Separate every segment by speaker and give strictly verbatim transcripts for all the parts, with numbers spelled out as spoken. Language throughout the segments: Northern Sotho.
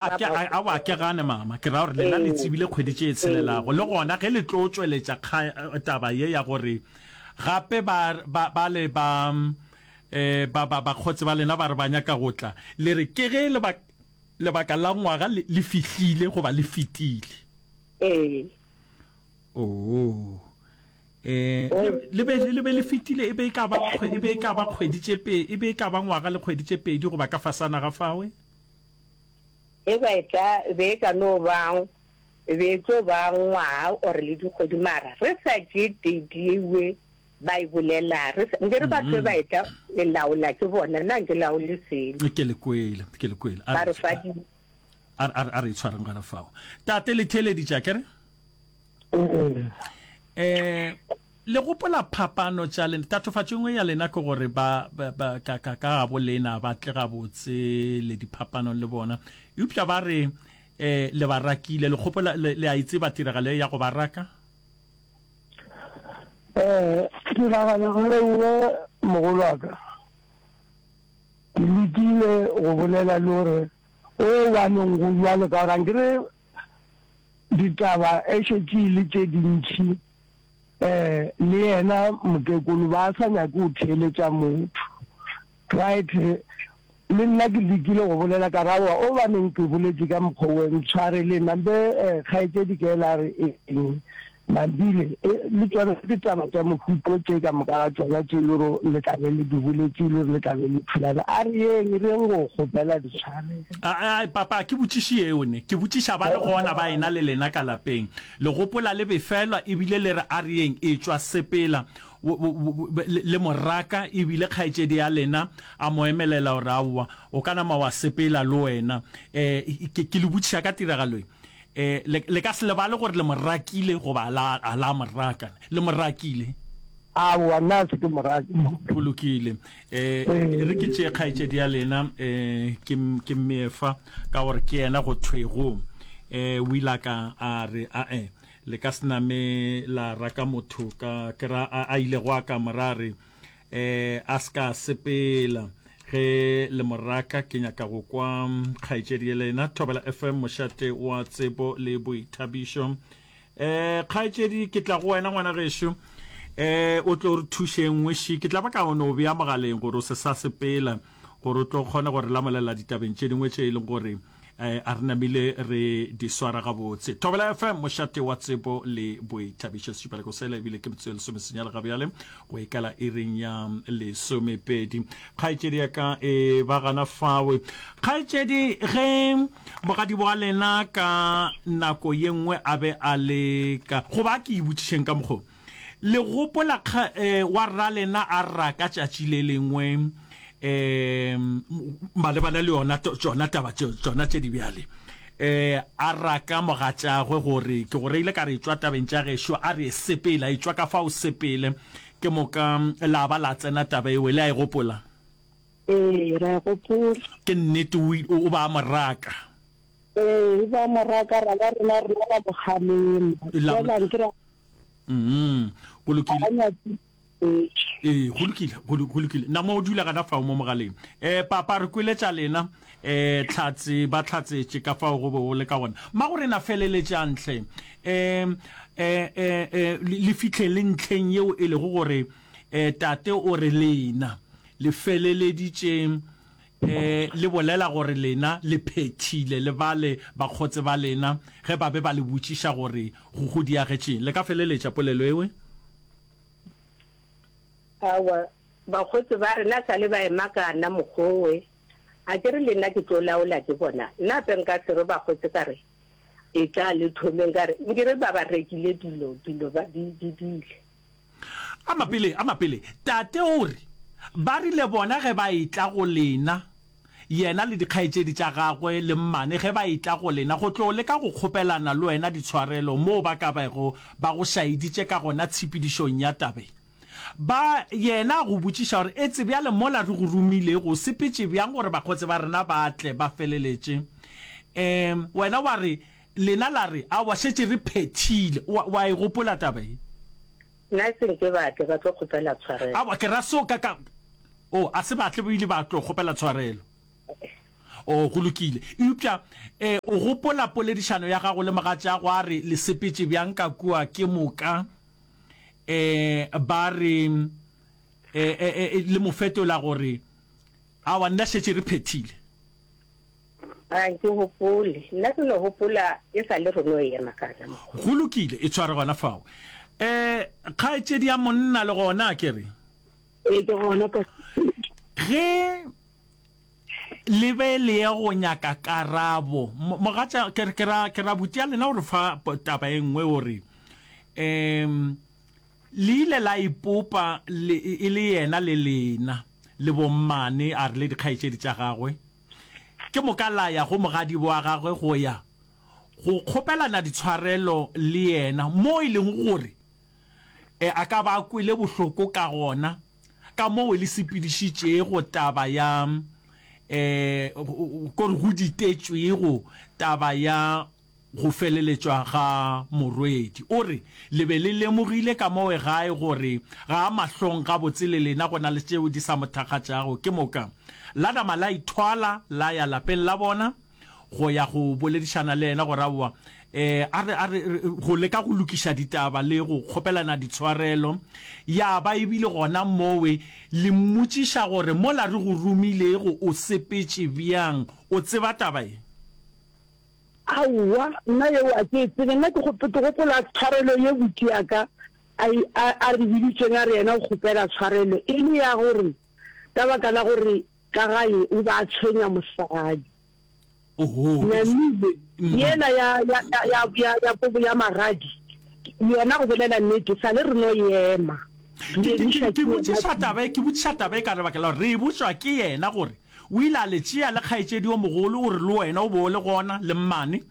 Speaker 1: A ke, a, aowa, ke gane, mama. Ke ra gore lena le
Speaker 2: Ee.
Speaker 1: tsebile kgwedi tše
Speaker 2: Ee.
Speaker 1: tshelelago. Le gona ge le tlo tšweletša kga, taba ye ya gore gape ba, ba, ba le ba, eh, ba, ba, bakgotse ba lena ba re ba nyaka go tla, le re ke ge lebak, lebaka la ngwaga le, le fihlile goba le fetile.
Speaker 2: Ee.
Speaker 1: Oo. Eh, le, le be, le be le fetile e be e ka ba kgwe, e be e ka ba kgwedi tše pe, e be e ka ba ngwaga le kgwedi tše pedi goba ka fasana ga fawe?
Speaker 2: E ba e tla be e ka no ba, e be e tlo ba ngwaga or le dikgwedi mara re sa tšee date yewe ba e bolela, re sa, nke re batho ba e tla le laola ke bona, nna nke laole selo.
Speaker 1: Ke le kwele, ke le kwele. A
Speaker 2: Ba
Speaker 1: re,
Speaker 2: re fa di.
Speaker 1: a, a, a re itshwareng gona fao. Tate le theeleditše akere? Eh, le gopola phapano tša lena? Tatofatšo e nngwe ya lena ke gore ba, ba, ba ka, ka, ka gabo lena ba tle gabotse le diphapanong le bona. Eupša ba re, eh, le ba rakile. Le gopola, le, le a e tseba tiragalo ye ya go ba raka?
Speaker 3: Eh, tiragalo e nngwe, mogolo wa ka, ke lekile go bolela le gore o baneng go bjalo ka gore ankere ditaba e šetše e le tše dintši um le yena mokekolo ba sa nyake go theeletša motho. Right, le nna ke lekile go bolela ka re aowa o baneng ke boletše ka mokgwa owe ntshwareleng nampe um kgaetšedi ke ela re eng Mambile e le tšona ditaba tša mohuto tše ka moka ga tšona tše e le gore le tla be le di boletše, e le gore le tla be le thulana. A re yeng, re yeng go kgopela ditshwarelo.
Speaker 1: A, a, papa, ke botšiše yeo ne. Ke botšiša ba le gona ba ena le lena ka lapeng. Le gopola le befelwa ebile le re a re yeng, etšwa sepela le, le mo raka ebile kgaetšedi ya lena a mo emelela gore aowa, o ka nama wa sepela le wena. E, ke, ke le botšiša ka tiragalo ye. E, le, le ka se lebale gore le mo rakile goba la, a la mo raka. Le mo rakile?
Speaker 3: Aowa, nna a se ke mo rake.
Speaker 1: Go lokile. E, e re ke tšee kgaetšedi ya lena, e, ke, ke Mmeefa, ka gore ke yena go thwego. E, o ile a ka a re, Ae, le ka se name la raka motho ka, ke ra, a, a ilego a ka mo ra re, E, a se ka a sepela. Ge le mo raka, ke nyaka go kwa kgaetšedi ye lena. Thobela F M, mošate wa tsebo le boithabišo. E, kgaetšedi, ke tla go wena ngwana gešo. E, o tlo re thuše nngwe ši. Ke tla ba ka no bea mogaleng gore o se sa sepela, gore o tlo kgone go re lamolela ditabeng tše dingwe tše e leng gore a re namile re di swara gabotse. Thobela F M, mošate wa tsebo le boithabišo. Sešupaleko sela ebile ke metsotso ye lesomesenyane ga bjale go ikala iring ya lesomepedi. Kgaetšedi ya ka e ba gana fawe. Kgaetšedi, ge mogadibo wa lena ka nako ye nngwe a be a le ka, goba a ke e botšišeng ka mokgo, le gopola kga, eh, wa rralena a raka tšatši le lengwe um malebana le yona tšona taba tšona tše di bjale, um a raka mogatšagwe gore ke go reile ka re etšwa tabeng tša gešo, a re sepela, etšwa ka fao sepele, ke moka la ba la tsena taba eo, le a e gopola?
Speaker 2: Ee, re a e gopola.
Speaker 1: Ke nnete, o, o ba a mo raka.
Speaker 2: Ee, o ba a mo raka, ra ba rena rena ra mo kgalema. Fela nkere a.
Speaker 1: Mm, go lokile.
Speaker 2: Ga a nyake.
Speaker 1: Ee, go lokile, go, go lokile. Na mo o dula gana fao mo mogaleng. Eh, papa, re kwele tša lena. Eh, hlatse, ba hlatsetše ka fao go be go le ka gona. Mmagorena, feleletšang hle. Eh, eh, eh, eh, le, le fihle le ntlheng yeo e lego gore, eh, tate o re lena le feleleditše, eh, le bolela gore lena le phethile le bale bakgotse ba lena ge ba be ba le botšiša gore go go diagetšeng. Le ka feleletša polelo ewe?
Speaker 2: Aowa, bakgotse ba rena sa le ba ema ka nna mokgowe. A ke re le nna ke tlo laola ke bona. Nna gape nka se re bakgotse ka re, Etla le thomeng ka re, nke re ba ba rekile dilo, dilo ba di, di dile.
Speaker 1: A mapele, a mapele. Tate o re, Ba rile bona ge ba etla go lena, yena le dikgaetšedi tša gagwe le mmane ge ba etla go lena go tlo leka go kgopelana le wena ditshwarelo moo ba ka bego ba go šaeditše ka gona tshepedišong ya tabe. Ba, yena a go botšiša gore, Etse bjale mola re go romilego, o sepetše bjang gore bakgotse ba rena ba tle ba feleletše? Um, wena wa re, Lena la re, Aowa, šetše re phethile. Wa, wa e gopola taba ye?
Speaker 2: Nna e seng ke ba tle ba tlo kgopela tshwarelo.
Speaker 1: Aowa, ke ra seo ka, ka, Oh, a se ba tle ba ile ba tlo kgopela tshwarelo. O, go lokile. Eupša, e, o gopola poledišano ya gago le mogatšago a re le sepetše bjang ka kua, ke moka, e, ba re, e, e, e, le mo fetola gore, Aowa, nna šetše re phethile.
Speaker 2: Ga ke gopole. Nna ke no gopola e sa le re no ema ka gona mokgwa.
Speaker 1: Go lokile, e tshware gona fao. E, kgaetšedi ya monna le gona, a ke re?
Speaker 4: Ee, ke gona, Pastor.
Speaker 1: Ge le be le ye go nyaka karabo, mogatša, ke, ke ra, ke ra buti ya lena o re fa taba e nngwe, o re, um, Le ile la ipopa le, e le yena le lena, le bommane, a re le dikgaetšedi tša gagwe. Ke moka la ya go mogadibo wa gagwe go ya go kgopelana ditshwarelo le yena, mo e lego gore a ka ba a kwele bohloko ka gona ka moo le sepedišitšego taba ya, kore go ditetšwego taba ya go feleletšwa ga morwedi. O re, Le be le lemogile ka mowe gae gore ga a mahlong gabotse le lena go na le tšeo di sa mo thakgatšago. Ke moka la nama la ithwala la ya lapeng la bona go ya go boledišana le yena gore aowa e a re, a re, go leka go lokiša ditaba le go kgopelana ditshwarelo. Ya ba e bile gona mowe le mmotšiša gore mola re go romilego o sepetše bjang, o tseba taba ye?
Speaker 4: Aowa, nna yeo a ke e tsebe. Nna ke, ke gopola tshwarelo ye buti ya ka a, a, a re biditšeng a re yena o kgopela tshwarelo e le ya gore ka baka la gore ka gae o be a tshwenya mosadi.
Speaker 1: Oho,
Speaker 4: Nyamile, yela ya, ya, ya, ya, ya, ya kobo ya magadi, yona go bolela nnete, sa le re no ema. Re
Speaker 1: Ke, ke,
Speaker 4: emiša
Speaker 1: ke
Speaker 4: ke yena
Speaker 1: botšiša taba e, ke botšiša taba e ka lebaka la gore re e botšwa ke yena gore O ile a le tšea le kgaetšedi yo mogolo, o re le wena o be o le gona, le mmane,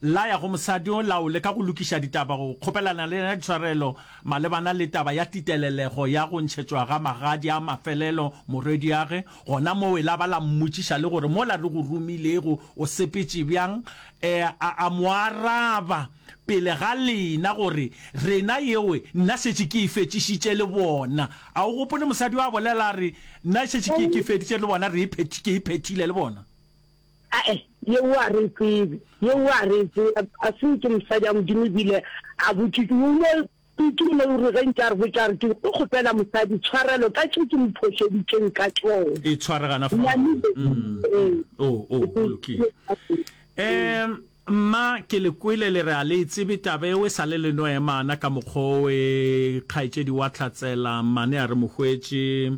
Speaker 1: la ya go mosadi yo, la o leka go lokiša ditaba, go kgopelana le yena ditshwarelo malebana le taba ya titelelego ya go ntšhetšwa ga magadi a mafelelo morwediage. Gona mowe la ba la mmotšiša le gore mola re go romilego o sepetše bjang? E, a, a mo araba pele ga lena gore rena yeo nna šetše ke e fetšišitše le bona. A o gopole mosadi yo a bolela a re, Nna šetše ke, ke feditše le bona, re e phethi, ke e phethile le bona.
Speaker 4: Ae, yeo a re e tsebe, yeo a re e tsebe. A se ke mosadi a Modimo ebile a botšitše, o no, ke no re ge ntše a re botša a re, ke tlo kgopela mosadi tshwarelo ka tše ke mo phošeditšeng ka tšona.
Speaker 1: E tshware gana fao.
Speaker 4: Nyamile,
Speaker 1: Mm,
Speaker 4: ee.
Speaker 1: oh, oh, go lokile. Um, Mma, ke le kwele le re a le e tsebe taba eo, e sa le le no emana ka mokgwa o e kgaetšedi wa Hlatsela mmane a re mo hwetše,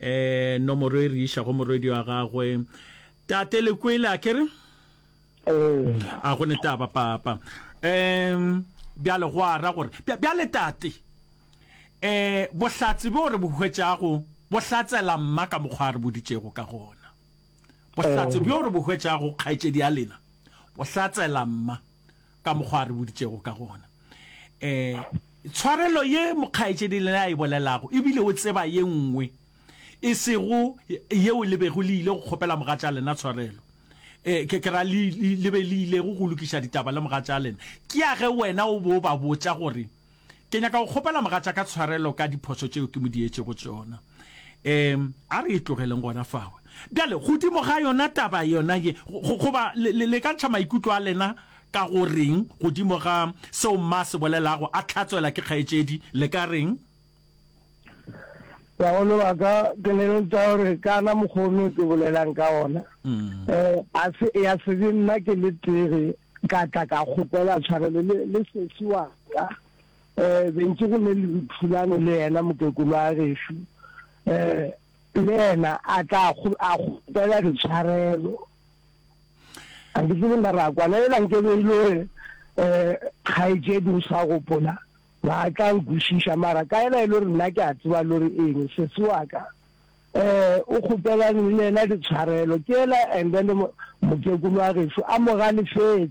Speaker 1: eh, nomoro e re iša go morwedi wa gagwe. Tate, le kwele a ke re?
Speaker 3: Ee.
Speaker 1: A go ne taba, papa. Um, bjale go a ra gore, bjale tate, eh, bohlatse bjo re bo hwetšago bo hlatsela mma ka mokgwa a re boditšego ka gona. Bohlatse bjo re bo hwetšago kgaetšedi ya lena bo hlatsela mma ka mokgwa a re boditšego ka gona. Um tshwarelo ye mokgaetšedi lena a e bolelago e bile o tseba ye nngwe e sego yeo le bego le ile go kgopela mogatša lena tshwarelo. Um ke, ke ra le, le, le be le ilego go lokiša ditaba le mogatša lena. Ke ya ge wena o be o ba botša gore Ke nyaka go kgopela mogatšaka tshwarelo ka diphošo tšeo ke mo dietšego tšona. Um, a re e tlogeleng gona fao. Bjale, godimo ga yona taba yona ye, go, goba le, le, le ka ntšha maikutlo a lena ka go reng godimo ga seo mma a se bolelago, a hlatswela ke kgaetšedi, le ka reng?
Speaker 3: Bagolo ba ka, ke le eletša gore ka na mokgwa ono ke bolelang ka ona, um a se, ya se be nna ke le tee ka tla ka kgopela tshwarelo le, le sesi wa ka. Um be ntše go ne le thulano le yena mokekolo wa gešo, um le yena a tla a kgopela ditshwarelo. A ke tsebe na ra kwana ela nke be e le gore um kgaetšedi o sa gopola ba tla nkwešiša, mara ka ela e le gore nna ke a tseba le gore eng sesi wa ka Eh, o kgopelane le yena ditshwarelo ke yela and then mokekolo wa gešo a mo galefetše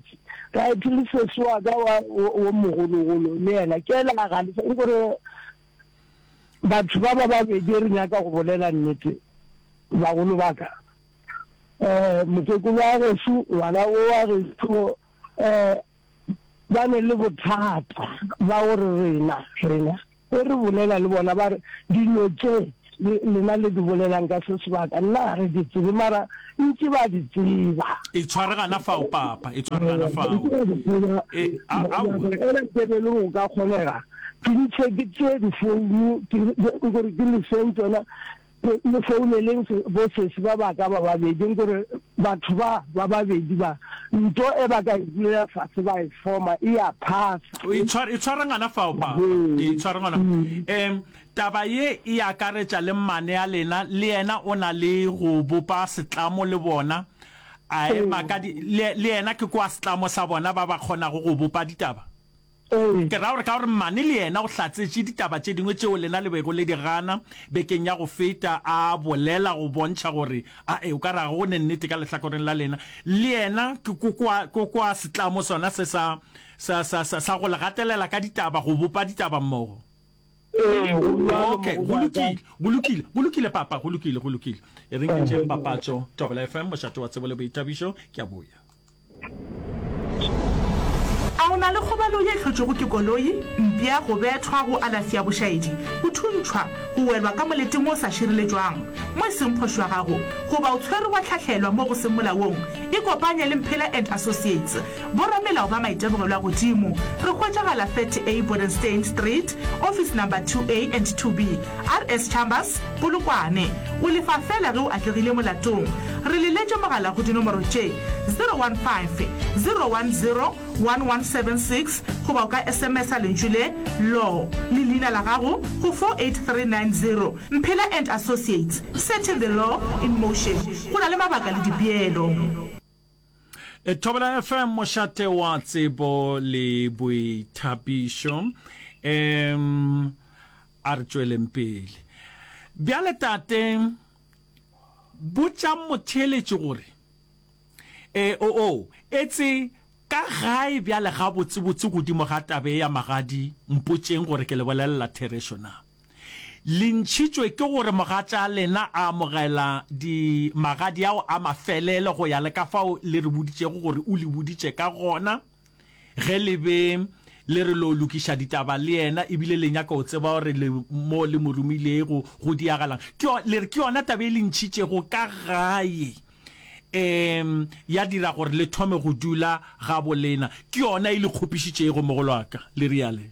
Speaker 3: right le sesi wa ka wa wo mogologolo le yena ke yela a galefe nkore batho ba ba babedi re nyaka go bolela nnete bagolo ba ka eh mokekolo wa gešo ngwana o wa gešo eh ba ne le bothata ba gore rena rena Ge re bolela le bona ba re, Dilo tše lena le di bolelang ka se sebaka nna ga re di tsebe mara ntše ba di tseba.
Speaker 1: E tshware gana fao papa, e tshware gana fao. E, a, aowa.
Speaker 3: Ela ke be le go ka kgonega ke ntšhe ke tšee difounu ke gore ke le feng tsona le founeleng bo sesi ba ba ka ba babedi nkore batho ba ba babedi ba nto e ba ka e dulela fase ba e foma e ya phasa.
Speaker 1: E tshware e tshware ngwana fao papa e tshware ngwana um taba ye e akaretša le mmane ya lena le yena o na le go bopa setlamo le bona a ema ka di le le yena ke kwa setlamo sa bona ba ba kgonago go bopa ditaba. Ke ra gore ka gore mmane le yena o hlatsetše ditaba tše dingwe tšeo lena le bego le di gana bekeng ya go feta, a bolela go bontšha gore ae o ka re ga go ne nnete ka lehlakoreng la lena. Le yena ke kokoa, kokoa setlamo sona se sa, sa, sa, sa, sa go le gatelela ka ditaba, go bopa ditaba mmogo.
Speaker 3: Ee, go bjalo,
Speaker 1: Okay, go
Speaker 3: mogobatša.
Speaker 1: lokile, go lokile, go lokile papa, go lokile, go lokile. E reng ke tšeeng papatšo, Thobela F M, mošate wa tsebo le boithabišo, ke a boya.
Speaker 5: A o na le kgobalo ye e hlotšwego ke koloi, mpša, go bethwa, go alafi ya bošaedi, go thuntšhwa, go welwa ka moleteng wo o sa šireletšwang, mo e seng phošo ya gago, goba o tshwerwe wa hlahlelwa mo go seng molaong? Ikopanye le Mphela and Associates, boramelao ba maitemogelo a godimo. Re hwetšagala thirty A Bodenstein Street, Office Number two A and two B, R S Chambers, Polokwane. O lefa feela ge o atlegile molatong. Re leletše mogala go dinomoro tše, zero one five, zero one zero, one one seven six goba o ka S M S-a lentšu le, Law, le leina la gago go four eight three nine zero. Mphela and Associates, setting the law in motion. Go na le mabaka le dipeelo.
Speaker 1: Thobela F M, mošate wa tsebo le boithabišo. Um a re tšweleng pele. Bjale tate, botšang motheeletši gore e o o etse ka gae bjale gabotsebotse godimo ga taba ye ya magadi, mpotšeng gore ke le bolelela therešo na. Le ntšhitšwe ke gore mogatša lena a amogela di magadi ao a mafelelo go ya le ka fao le re boditšego gore o le boditše ka gona ge le be le re lo lokiša ditaba le yena ebile le nyaka go tseba gore le mo le mo romilego go diagalang. Ke yo, le re ke yona taba e le ntšhitšego ka gae um ya dira gore le thome go dula gabo lena. Ke yona e le kgopišitšego mogolo wa ka, le riale.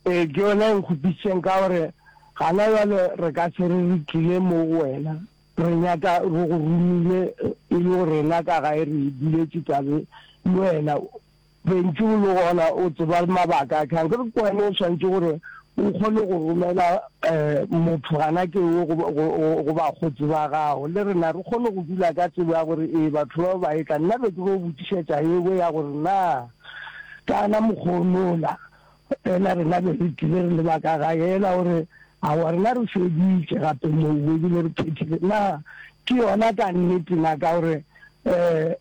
Speaker 3: Ee, ke yona e nkgopišitšeng ka gore gana bjale re ka se re re tlile mo go wena re nyaka re go romile e le gore rena ka gae re e duletše tabe le wena bentši o le gona o tseba mabaka a kang ke re ke wena o swanetše gore o kgone go romela um motho gana ke o go bakgotsi ba gago le rena re kgone go dula ka tsebo ya gore ee batho ba ba etla. Nna be ke go botšišetša eo ya gore na kana mokgonola ela rena be re tlile re le ba ka gae ela gore aowa rena re feditše gape moo ebile re phethile na ke yona ka nnete na ka gore um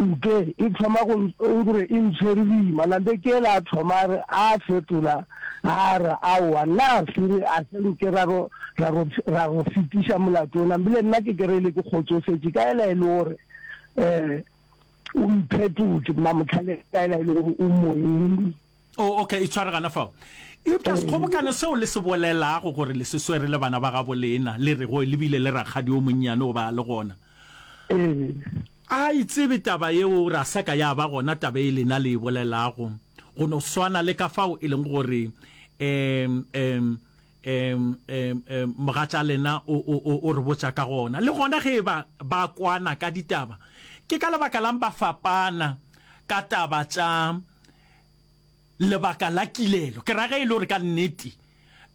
Speaker 3: nke e thoma go gore e ntshwere boima nampe ke ela a thoma a re a fetola a re aowa nna a se re a se nke ra ro ra ro ra ro fetiša molato ona ebile nna ke kry-ile ke kgotsofetše ka ela e le gore um o mphetotše Mmamotlhale ka ela e le gore o moeng.
Speaker 1: Oh, okay, itshware gana fao. Eupša sekgobokano seo le se bolelago gore le se swere le bana ba gabo lena, le rego le bile le rakgadi o monnyane o ba a le gona,
Speaker 3: Ee.
Speaker 1: a e tsebe taba yeo, ra sa ka ya ba gona taba e lena le e bolelago, go no swana le ka fao e leng gore um um um um um mogatša lena o, o, o, o re botša ka gona. Le gona ge e ba ba kwana ka ditaba, ke ka lebaka lang ba fapana ka taba tša lebaka la kilelo? Ke ra ge e le gore ka nnete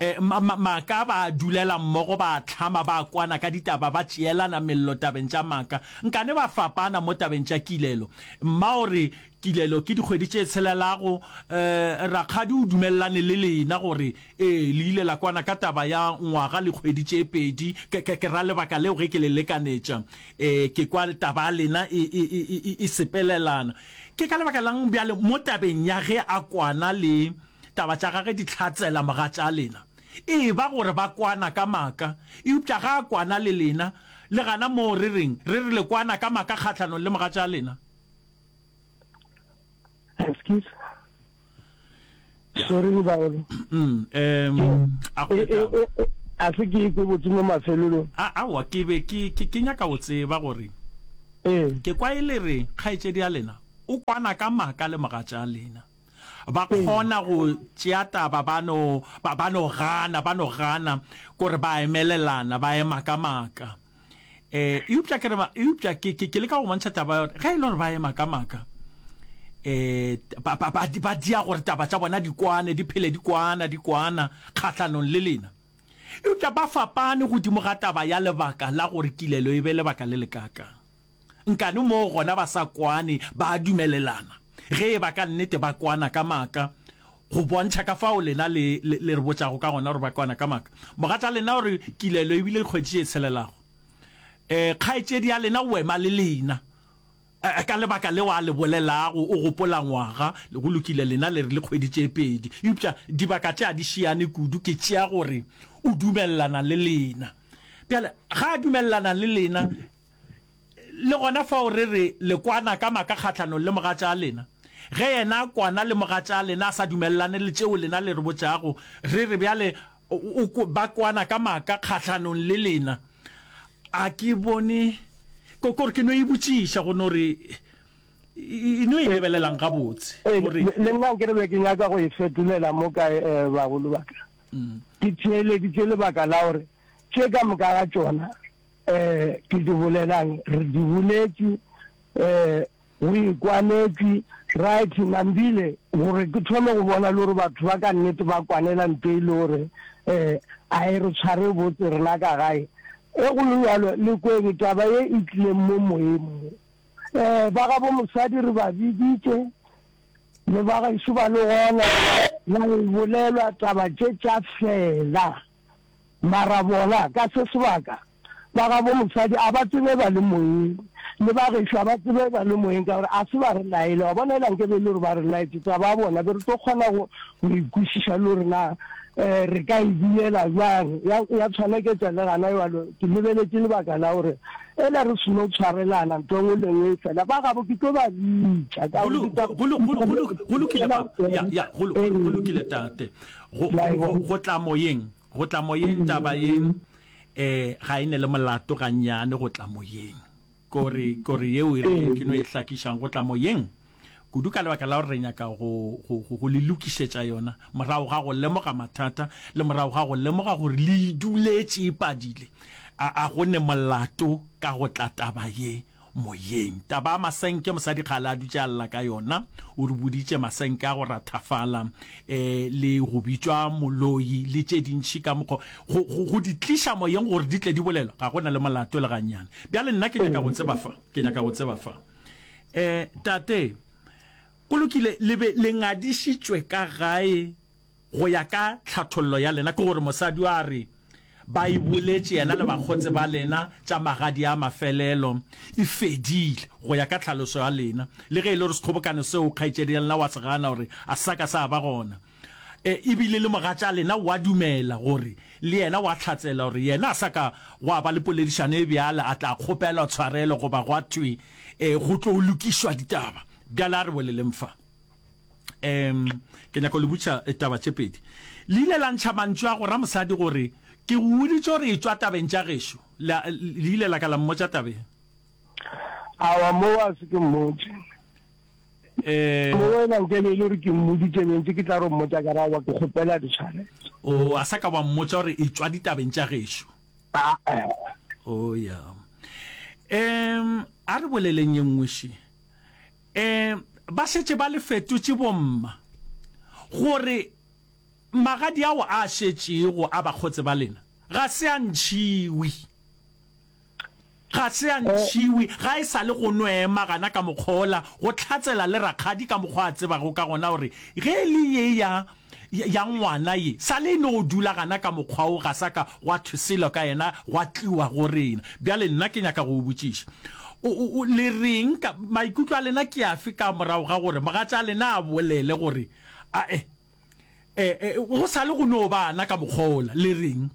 Speaker 1: eh, ma, ma, maaka ba dulela mmogo, ba hlama, ba kwana ka ditaba, ba tšeelana mello tabeng tša maaka, nkane ba fapana mo tabeng tša kilelo. Mma o re kilelo ke dikgwedi tše tshelelago. Eh, rakgadi o dumelelane le lena gore ee le ile la kwana ka taba ya ngwaga le kgwedi tše pedi. Ke, ke, ke ra lebaka leo ge ke le lekanetša eh, ke kwa taba ya lena e, e, e, e, e sepelelana. Ke ka lebaka lang bjale mo tabeng ya ge a kwana le taba tša gage di hlatsela mogatša lena e ba gore ba kwana ka maaka, eupša ga a kwana le lena le gana moo re reng re re le kwana ka maaka kgahlanong le mogatša lena?
Speaker 3: Excuse, sorry, Baolo.
Speaker 1: Mm, um a go
Speaker 3: E- e-
Speaker 1: taba
Speaker 3: e- A se ke ikwe botse mo mafelelong.
Speaker 1: A, aowa, ke be ke, ke, ke nyaka go tseba gore,
Speaker 3: Ee.
Speaker 1: ke kwa e le re kgaetšedi ya lena o kwana ka maaka le mogatša lena. Ba kgona go tšea taba ba no, ba, ba no gana, ba no gana, kore ba emelelana, ba ema ka maaka. Eh, eupša ke re ba, eupša ke, ke, ke leka go bontšha taba ya gore ge e le gore ba ema ka maaka, eh, ba, ba, ba, ba dia gore taba tša bona di kwane, di phele di kwana, di kwana kgahlanong le lena. Eupša ba fapane godimo ga taba ya lebaka la gore kilelo e be lebaka le lekaakang. Nkane moo gona ba sa kwane, ba a dumelelana. Ge e ba ka nnete ba kwana ka maaka, go bontšha ka fao lena le, le, le re botšago ka gona gore ba kwana ka maaka. Mogatša lena o re kilelo e bile dikgwedi tše tshelelago. E, kgaetšedi ya lena o ema le lena. E, ka lebaka leo a le bolelago, o gopola ngwaga, go lokile, lena le re le kgwedi tše pedi. Eupša dibaka tše a di šiane kudu, ke tšea gore o dumelelana le lena. Bjale, ga a dumelelana le lena, Le gona fao re re le kwana ka maaka kgahlanong le mogatša lena. Ge yena a kwana le mogatša lena a sa dumelelane le tšeo lena le re botšago, re re bjale o, o, ba kwana ka maaka kgahlanong le lena. A ke bone, ko, kore ke no e botšiša go no re, e no e lebelelang gabotse,
Speaker 3: Ee,
Speaker 1: gore.
Speaker 3: le nna nkere be ke nyaka go e fetolela mo kae, eh, bagolo ba ka. Ke theeleditše lebaka la gore tše ka moka ga tšona um ke di bolelang, re di boletše, um go ikwanetšwe, right, Nambile, gore ke thome go bona le gore batho ba ka nnete ba kwanela nto e le gore um a e re tshware botse rena ka gae. E go le bjalo, le kweng taba ye e tlileng mo moyeng mo. Um ba gabo mosadi re ba biditše, le ba gešo ba le gona, ya e bolelwa taba tše tša fela. Mara bona, ka se sebaka, ba gabo mosadi a ba tsebe ba le moyeng, le ba gešo a ba tsebe ba le moyeng, ka gore a se ba re laele. Wa bona, ela nke be e le gore ba re laetše taba ya bona, be re tlo kgona go, go e kwešiša le gore na um re ka e dulela bjang. Ya, ya tshwaneketša le gana bjalo, ke lebeletše lebaka la gore ela re seno tshwarelana ntho e nngwe le nngwe e fela, ba gabo ke tlo ba bitša, ka
Speaker 1: Go
Speaker 3: gore ke tla,
Speaker 1: go go go go go lokile pa, ya, ya, go go go lokile tate. Go go go go tla moyeng. Go tla moyeng taba ye eh ga e ne le molato gannyane go tla moyeng. Kore kore yeo e re ke no e hlakišang go tla moyeng kudu ka lebaka la gore re nyaka go go go go le lokišetša yona morago ga go lemoga mathata le morago ga go lemoga gore le e duletše e padile. A a go ne molato ka go tla taba ye moyeng. Taba ya masenke, mosadi kgale a dutše a lla ka yona. O re boditše masenke a go rathafala um le go bitšwa moloi le tše dintši ka mokgwa go, go, go di tliša moyeng gore di tle di bolelwa, ga go na le molato le gannyane. Bjale nna ke nyaka go tseba fa, ke nyaka go tseba fa. Um tate, go lokile, le be le ngadišitšwe ka gae Go ya ka tlhathollo ya lena, ke gore mosadi yo a re ba e boletše yena le bakgotse ba lena tša magadi a mafelelo e fedile, go ya ka tlhaloso ya lena, le ge e le gore sekgobokano seo kgaetšedi ya lena wa se gana gore a sa ka sa ba gona, e, e bile le mogatša lena wa dumela gore le yena wa hlatsela gore yena a sa ka gwa ba le poledišano e bjale a tla kgopelwa tshwarelo goba gwa thwe e, go tlo lokišwa ditaba. Bjale a re boleleng fa. Um ke nyaka go le botša eh, taba tše pedi. Le ile la ntšha mantšu a go ra mosadi gore ke go boditše gore e tšwa tabeng tša gešo. Le, le ile la ka la mmotša tabeng.
Speaker 3: Awa, moo a se ke mmotše.
Speaker 1: Eh,
Speaker 3: Mo wena nke be e le gore ke mmoditše bentše ke tla ro mmotša ka re aowa ke kgopela ditshwarelo.
Speaker 1: o a sa ka wa mmotša gore e tšwa ditabeng tša gešo.
Speaker 3: Aa.
Speaker 1: O ya. Um a re boleleng ye nngwe še. E, ba šetše ba le fetotše bomma, gore magadi ao a šetšego a bakgotse ba lena ga se a ntšhiwe. Ga se a ntšhiwe, ga e sa le go no ema gana ka mokgwa wola, go hlatsela le rakgadi ka mokgwa a tsebago ka gona gore ge e le ye ya, ya ngwana ye, sa le e no dula gana ka mokgwa wo, ga sa ka gwa thwe selo ka yena, gwa tliwa go rena. Bjale nna ke nyaka go o botšiša, o, o, o, le reng ka, maikutlo a lena ke afe ka morago ga gore mogatša lena a bolele gore, Ae, e, e, go sa le go no ba ana ka mokgwa wola, le reng?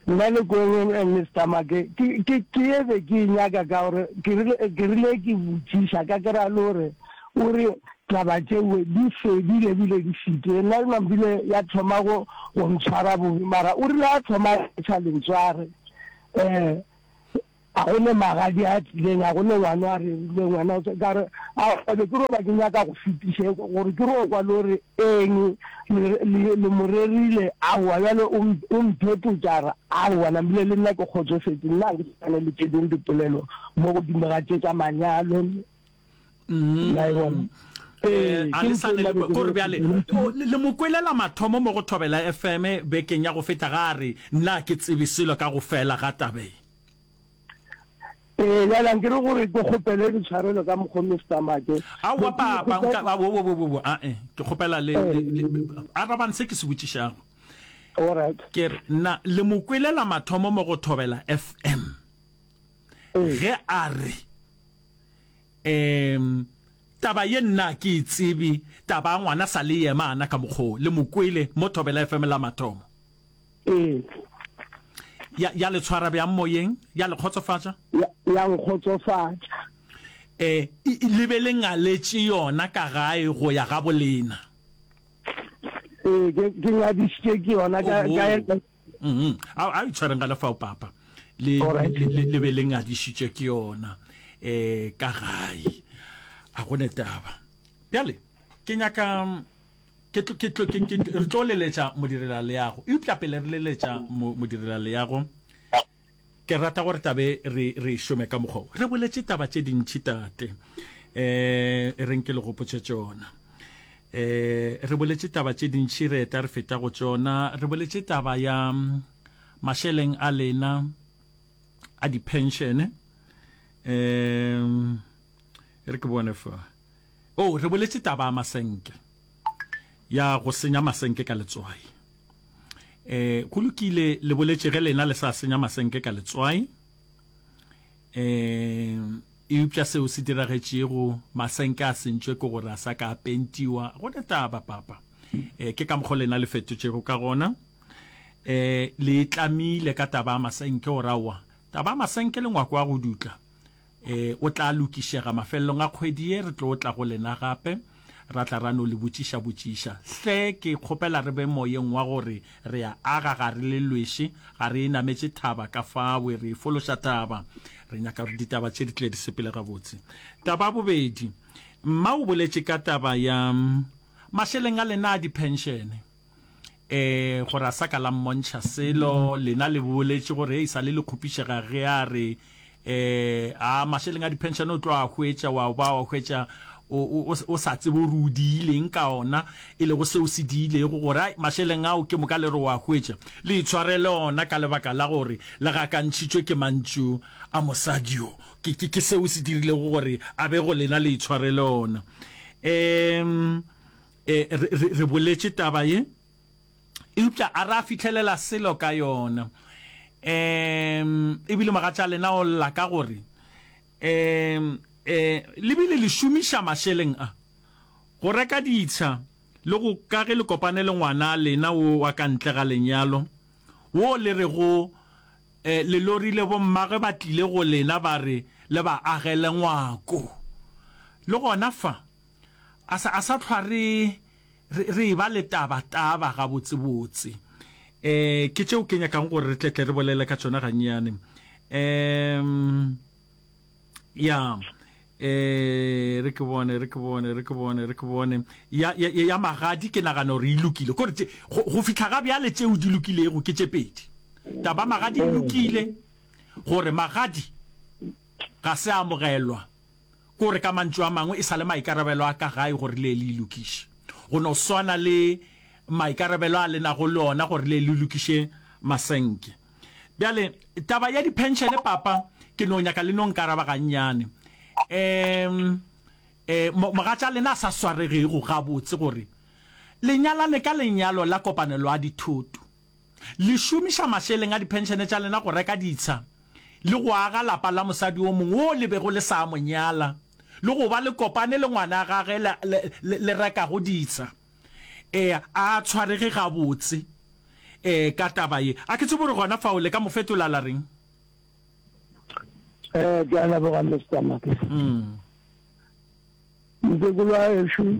Speaker 3: Nna le kweng, Mister Make, ke, ke, ke ye be ke e nyaka ka gore ke rile, ke rile ke botšiša ka kry-a le gore o re Taba tšeoe di fedile ebile di fetile. Nna Mampile ya thoma go go ntshwara bobe, mara o rile a thoma a ntšha lentswe a re, um a go ne magadi a tlileng, a go ne ngwana a rerileng, wena o ka re, a be ke ro ba ke nyaka go fetiša gore ke ro kwa le gore eng le, le, le mo rerile, aowa bjale o, o mphetotša a re, aowa Nampile le nna ke kgotsofetše, nna ga ke sane le tše dingwe dipolelo mo godimo ga tše tša manyalo. La e bona?
Speaker 1: Ee, a le sa ne le kore bjale le mo kwelela mathomo mo go Thobela F M bekeng ya go feta ga a re nna ke tsebe selo ka go fela ga tabeng.
Speaker 3: Ee, bjale anke re gore ke kgopele ditshwarelo ka mokgo Mister Make.
Speaker 1: Aowa papa, nka wo wo wo wo a e ke kgopela le arabang se ke se botšišago.
Speaker 3: All right.
Speaker 1: Ke re nna le mo kwelela mathomo mo go Thobela F M ge a re Um taba ye nna ke e tsebe, taba ya ngwana sa le yema ana ka mokgo le mo kwele mo Thobela F M la mathomo.
Speaker 3: Ee.
Speaker 1: Ya, ya le tshwara bjang moyeng? Ya le kgotsofatša?
Speaker 3: Ya, ya nkgotsofatša.
Speaker 1: E, le be le ngaletše yona ka gae go ya ga bolena?
Speaker 3: Ee, ke, ke ngadišitše ke yona ka, ka,
Speaker 1: Mm a a itshwareng ga lefao papa le le le be le ngadišitše ke yona eh ka gae a go ne taba bjale ke nyaka ke ke ke re tlo leletša modirela leago eupša pele re leletša modirela leago Ke rata gore tabe re re e šome ka mokgwa wo. Re boletše taba tše dintši tate. Eh e reng ke le gopotše tšona. Eh re boletše taba tše dintši re eta re feta go tšona. Re boletše taba ya mašeleng a lena a di-pension. Eh re ke bone fa. Oh re boletše taba ya masenke. Ya go senya masenke ka letswai. Eh, go lokile, le boletše ge lena le sa senya masenke ka letswai. Eh, eupša seo se diragetšego masenke a sentšwe ke gore a sa ka a pentiwa. Go ne taba, papa. Eh, ke ka mokgwa lena le fetotšego ka gona. Eh, le tlamile ka taba ya masenke gore aowa, taba ya masenke le ngwako wa go dutla. E, o tla lokišega mafelelong a kgwedi ye. Re tlo tla go lena gape, ra tla ra no le botšiša-botšiša. Hle, ke kgopela re be moyeng wa gore re a aga, ga re le lweše, ga re e nametše thaba ka fawe, re e fološa thaba. Re nyaka gore ditaba tše di tle di sepele gabotse. Taba ya bobedi, mma o boletše ka taba ya mašeleng a lena a diphenšene. E, gore a sa ka la mmontšha selo, lena le boletše gore e sa le le kgopišega ge a re, e, a mašeleng a diphenšene o tlo a hwetša, wa ba wa hwetša o, o, o sa tsebe gore o diileng ka ona, e lego seo se diilego gore ai mašeleng ao ke moka le re o a hwetša, le itshwarele ona ka lebaka la gore le gakantšhitšwe ke mantšu a mosadi yo. Ke, ke, ke seo se dirilego gore a be go lena le itshwarele ona. Um. E, re, re, re boletše taba ye, eupša a ra fihlelela selo ka yona. Um, ebile mogatša lena o lla ka gore, um, e, le bile le šomiša mašeleng a go reka ditsha le go ka ge le kopane le ngwana lena wo wa ka ntle ga lenyalo, wo le rego, e, le lorile bommagwe ba tlile go lena ba re le ba agele ngwako. Le gona fa, A sa, a sa hlwa re, re, re eba le taba, taba gabotsebotse. E, ke tšeo ke nyakang gore re tle tle re bolele ka tšona gannyane. Um, ya, e, re ke bone, re ke bone, re ke bone, re ke bone. Ya, ya, ya magadi ke nagana gore e lokile. Kore tše, go, go fihla ga bjale tšeo di lokilego ke tše pedi. Taba magadi e lokile, gore magadi ga se a amogelwa. Ke gore ka mantšu a mangwe e sa le maikarabelo a ka gae gore le ye le e lokiše. Go no swana le maikarabelo a le nago le ona gore le ye le lokiše masenke. Bjale, taba ya diphenšene, papa, ke no nyaka le no nkaraba gannyane. Um, e, mogatša lena a sa swaregego gabotse gore le nyalane ka lenyalo la kopanelo a dithoto. Le šomiša mašeleng a diphenšene tša lena go reka ditsha le go aga lapa la mosadi o mongwe wo le bego le sa mo nyala, le go ba le kopane le ngwana gage le, le, le, le rekago ditsha. E, a a tshwarege gabotse, e, ka taba ye. A ke tsebe gore gona fao le ka mo fetola la reng?
Speaker 3: Eh, ke a leboga, Mister Make.
Speaker 1: Mm.
Speaker 3: Mokekolo wa gešo, um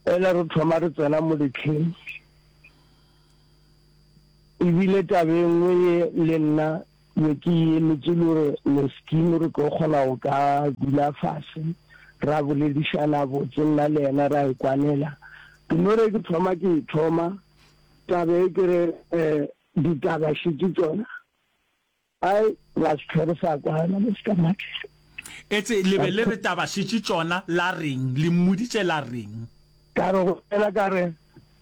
Speaker 3: ele re thoma re tsena mo letlheng, ebile taba e nngwe ye le nna be ke e emetše le gore Meskin re tlo kgona go ka dula fase ra boledišana botse nna le yena ra e kwanela. Ke no re ke thoma ke e thoma taba e ke re um ditaba šetše tšona. Ai, ra se hlwe re sa kwana, Mister Matlala.
Speaker 1: Etse le be le re taba šetše tšona la reng? Le mmoditše la reng?
Speaker 3: Ka re go yena ka re,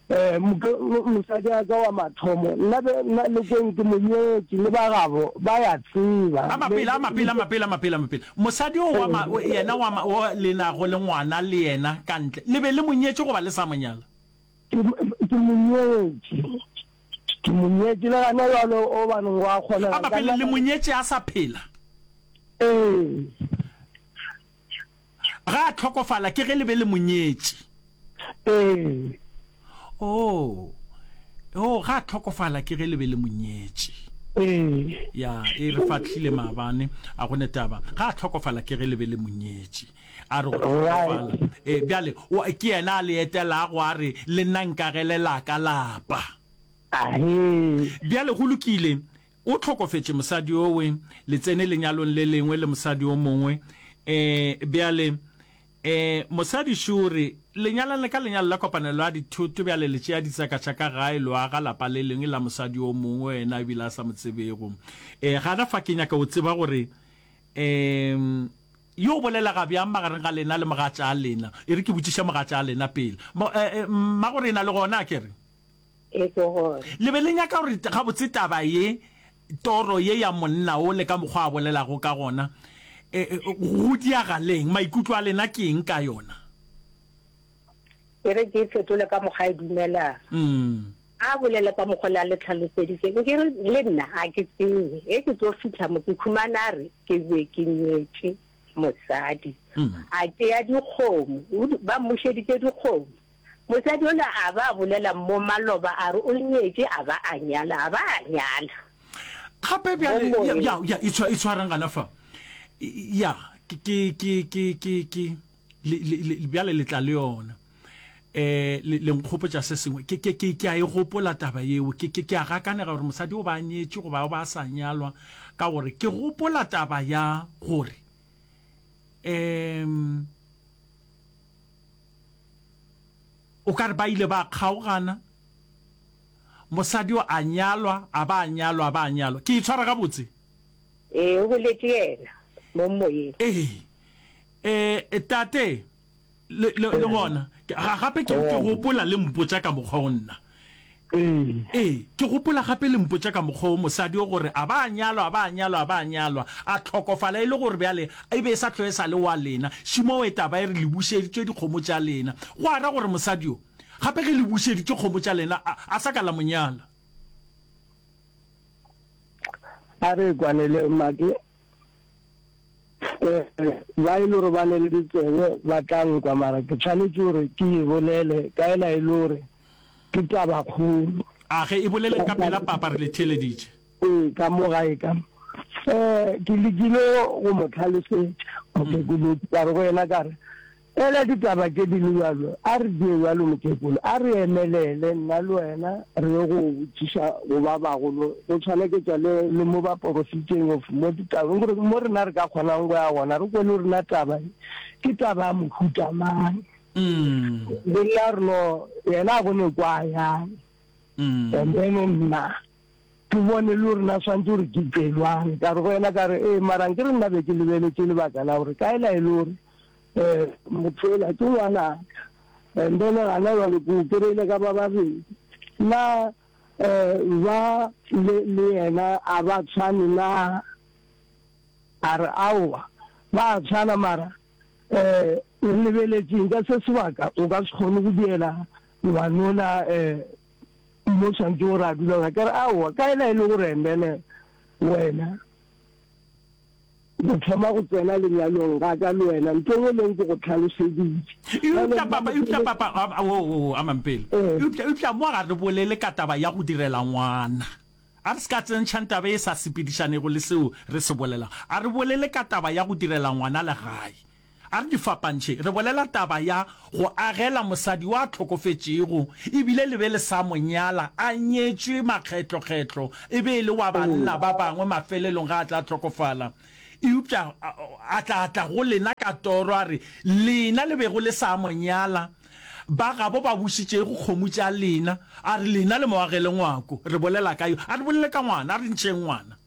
Speaker 3: Eh, moke, mosadi wa ka wa mathomo, nna be, nna le kweng ke mo nyetše, le ba gabo ba ya tseba.
Speaker 1: A mapele, a mapele, a mapele, a mapele, a mapele. Mosadi o wa ma, yena wa ma, o le nago le ngwana le yena ka ntle, le be le mo nyetše goba le sa mo nyala?
Speaker 3: Ke, ke mo nyetše. Ke mo nyetše le gana bjalo o baneng go a kgonega.
Speaker 1: A mapele le mo nyetše a sa phela?
Speaker 3: Ee.
Speaker 1: Ga a hlokofala ke ge le be le mo nyetše?
Speaker 3: Ee.
Speaker 1: Oh. Oh, ga a hlokofala ke ge le be le mo nyetše.
Speaker 3: Ee.
Speaker 1: Ya, e re fahlile maabane, a go ne taba. Ga a hlokofala ke ge le be le mo nyetše. A re go hlokofala. Ee, bjale o, ke yena a le etelago a re, Le nna nkagele la ka lapa.
Speaker 3: Ahee.
Speaker 1: Bjale go lokile, o hlokofetše mosadi owe, le tsene lenyalong le lengwe le mosadi o mongwe. Ee, bjale, ee, mosadi šo o re, Le nyalane ka lenyalo la kopanelo ya dithoto, bjale le tšea ditseka tša ka gae, lo aga lapa le lengwe la mosadi o mongwe, yena ebile a sa mo tsebego. Ee, gana fa ke nyaka go tseba gore, ee, Yo o bolelega bjang magareng ga lena le mogatša lena? E re ke botšiše mogatša lena pele. Mo, eh, eh, mmagorena le gona, a ke re?
Speaker 2: E ke gona.
Speaker 1: Le be le nyaka gore gabotse taba ye, toro ye ya monna o le ka mokgwa a bolelago ka gona, eh, eh, go diagaleng? Maikutlo a lena ke eng ka yona?
Speaker 2: E re ke e fetole ka mokgwa a e dumelang.
Speaker 1: Mm.
Speaker 2: A bolele ka mokgwa le a le tlhaloseditše. Nke re, le nna ga ke tsebe. Ge ke tlo fihla mo, ke khumana a re ke be ke nyetše mosadi. A tšea dikgomo, o di, ba mmušeditše dikgomo. Mosadi yola a ba a bolela mo maloba a re o nyetše a ba a nyala, a ba a nyala.
Speaker 1: Gape
Speaker 2: Mo
Speaker 1: bjale, ya,
Speaker 2: moyeng.
Speaker 1: ya, ya, itshwa, itshwareng gana fa. Ya, ke, ke, ke, ke, ke, ke. Le, le, le, bjale le tla le yona. Eh, le, le nkgopotša se sengwe. Ke, ke, ke, ke a e gopola taba yeo. Ke, ke, ke a gakanega gore mosadi o ba a nyetše goba o ba a sa nyalwa, ka gore ke gopola taba ya gore, um, o ka re ba ile ba kgaogana, mosadi o a nyalwa, a ba a nyalwa, a ba a nyalwa. Ke e tshwara gabotse?
Speaker 2: Ee, o boletše yena mo moyeng.
Speaker 1: Ee. Eh, tate, le, le, le gona, ga, gape ke, ke gopola le mpotša ka mokgwa o nna. Ee, ke gopola gape le mpotša ka mokgwa o mosadi o gore a ba a nyalwa, a ba a nyalwa, a ba a nyalwa, a hlokofala e le gore bjale e be e sa hlwe e sa le wa lena. Šimowe taba e re le bušeditšwe dikgomo tša lena. Go a ra gore mosadi o, gape ge le bušeditšwe kgomo tša lena, a, a sa ka la mo nyala.
Speaker 3: A re kwanele, Make. Ba e le gore ba ne le ditsebe ba tla nkwa, mara ke tshwanetše gore ke e bolele ka ela e le gore ke tabakgolo.
Speaker 1: A ge e boleleng ka pela, Papa, re le theeleditše.
Speaker 3: Ee, ka mo gae ka mo. Um ke lekile go mo tlhalosetša mokekolo, ka re go yena ka re, Ela ditaba tše di le bjalo, a re die bjalo mokekolo, a re emelele nna le wena re ye go botšiša go ba bagolo, go tshwaneketša le, le mo baporofeteng of mo ditabeng, gore mo rena re ka kgonang go ya gona, re kwe le gore na taba ye ke taba ya mohuta mang. Le nna re no, yena a bone kwa yang, and then nna Ke bone le gore na swantše gore ke tšwe bjang. Ka re go yena ka re, Ee, mara nkere nna be ke lebeletše lebaka la gore ka ela e le gore um motho yola ke ngwanaka, and then gana bjale ke o kry-ile ka ba babedi. Na um ba le le yena a ba tshwane na? A re, Aowa, ba a tshwana mara um re lebeletšeng ka se sebaka o ka se kgone go diela ngwanola um Mo swantše gore a dula gona. Ka re, Aowa, ka ela e le gore and then wena go thoma go tsena lenyalong ga ka le wena, ntho engwe le engwe ke go tlhaloseditše.
Speaker 1: Eupša papa, eupša papa, a, o, o, a mampele. Eupša, eupša mo ga re bolele ka taba ya go direla ngwana. A re se ka tsentšhang taba e sa sepedišanego le seo re se bolelago. A re bolele ka taba ya go direla ngwana legae. A re di fapantšhe. Re bolela taba ya go agela mosadi yo a hlokofetšego e bile le be le sa mo nyala, a nyetšwe makgetlokgetlo, e be e le wa banna ba bangwe mafelelong ge a tla hlokofala. Eupša a tla tla go lena ka toro a re, Lena le bego le sa mo nyala, ba gabo ba bušitšego kgomo tša lena, a re, Lena le mo agele ngwako. Re bolela ka yo. A re bolele ka ngwana, a re ntšheng ngwana.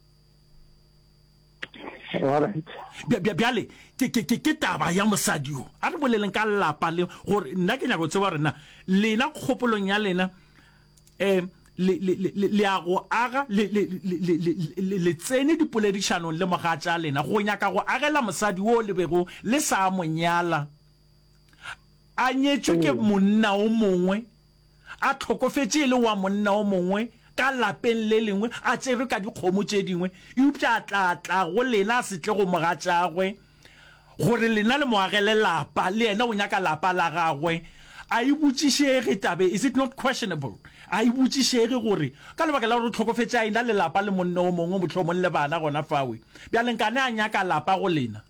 Speaker 1: Bjale, ke, ke, ke, ke taba ya mosadi yo. A re boleleng ka lapa le, gore nna ke nyaka go tseba gore na lena kgopolong ya lena, um le, le, le, le ya go aga, le, le, le, le, le, le, le tsene dipoledišanong le mogatša lena, go nyaka go agela mosadi wo le bego le sa mo nyala, a nyetšwe ke monna o mongwe, a hlokofetše e le wa monna o mongwe ka lapeng le lengwe, a tšerwe ka dikgomo tše dingwe, eupša a tla tla go lena a se tle go mogatšagwe, gore lena le mo agele lapa, le yena o nyaka lapa la gagwe. A e botšišege taba e, is it not questionable? A e botšišege gore ka lebaka la gore o hlokofetše a e-na le lapa le monna o mongwe, mohlomong le bana gona fawe, bjale nkane a nyaka lapa go lena?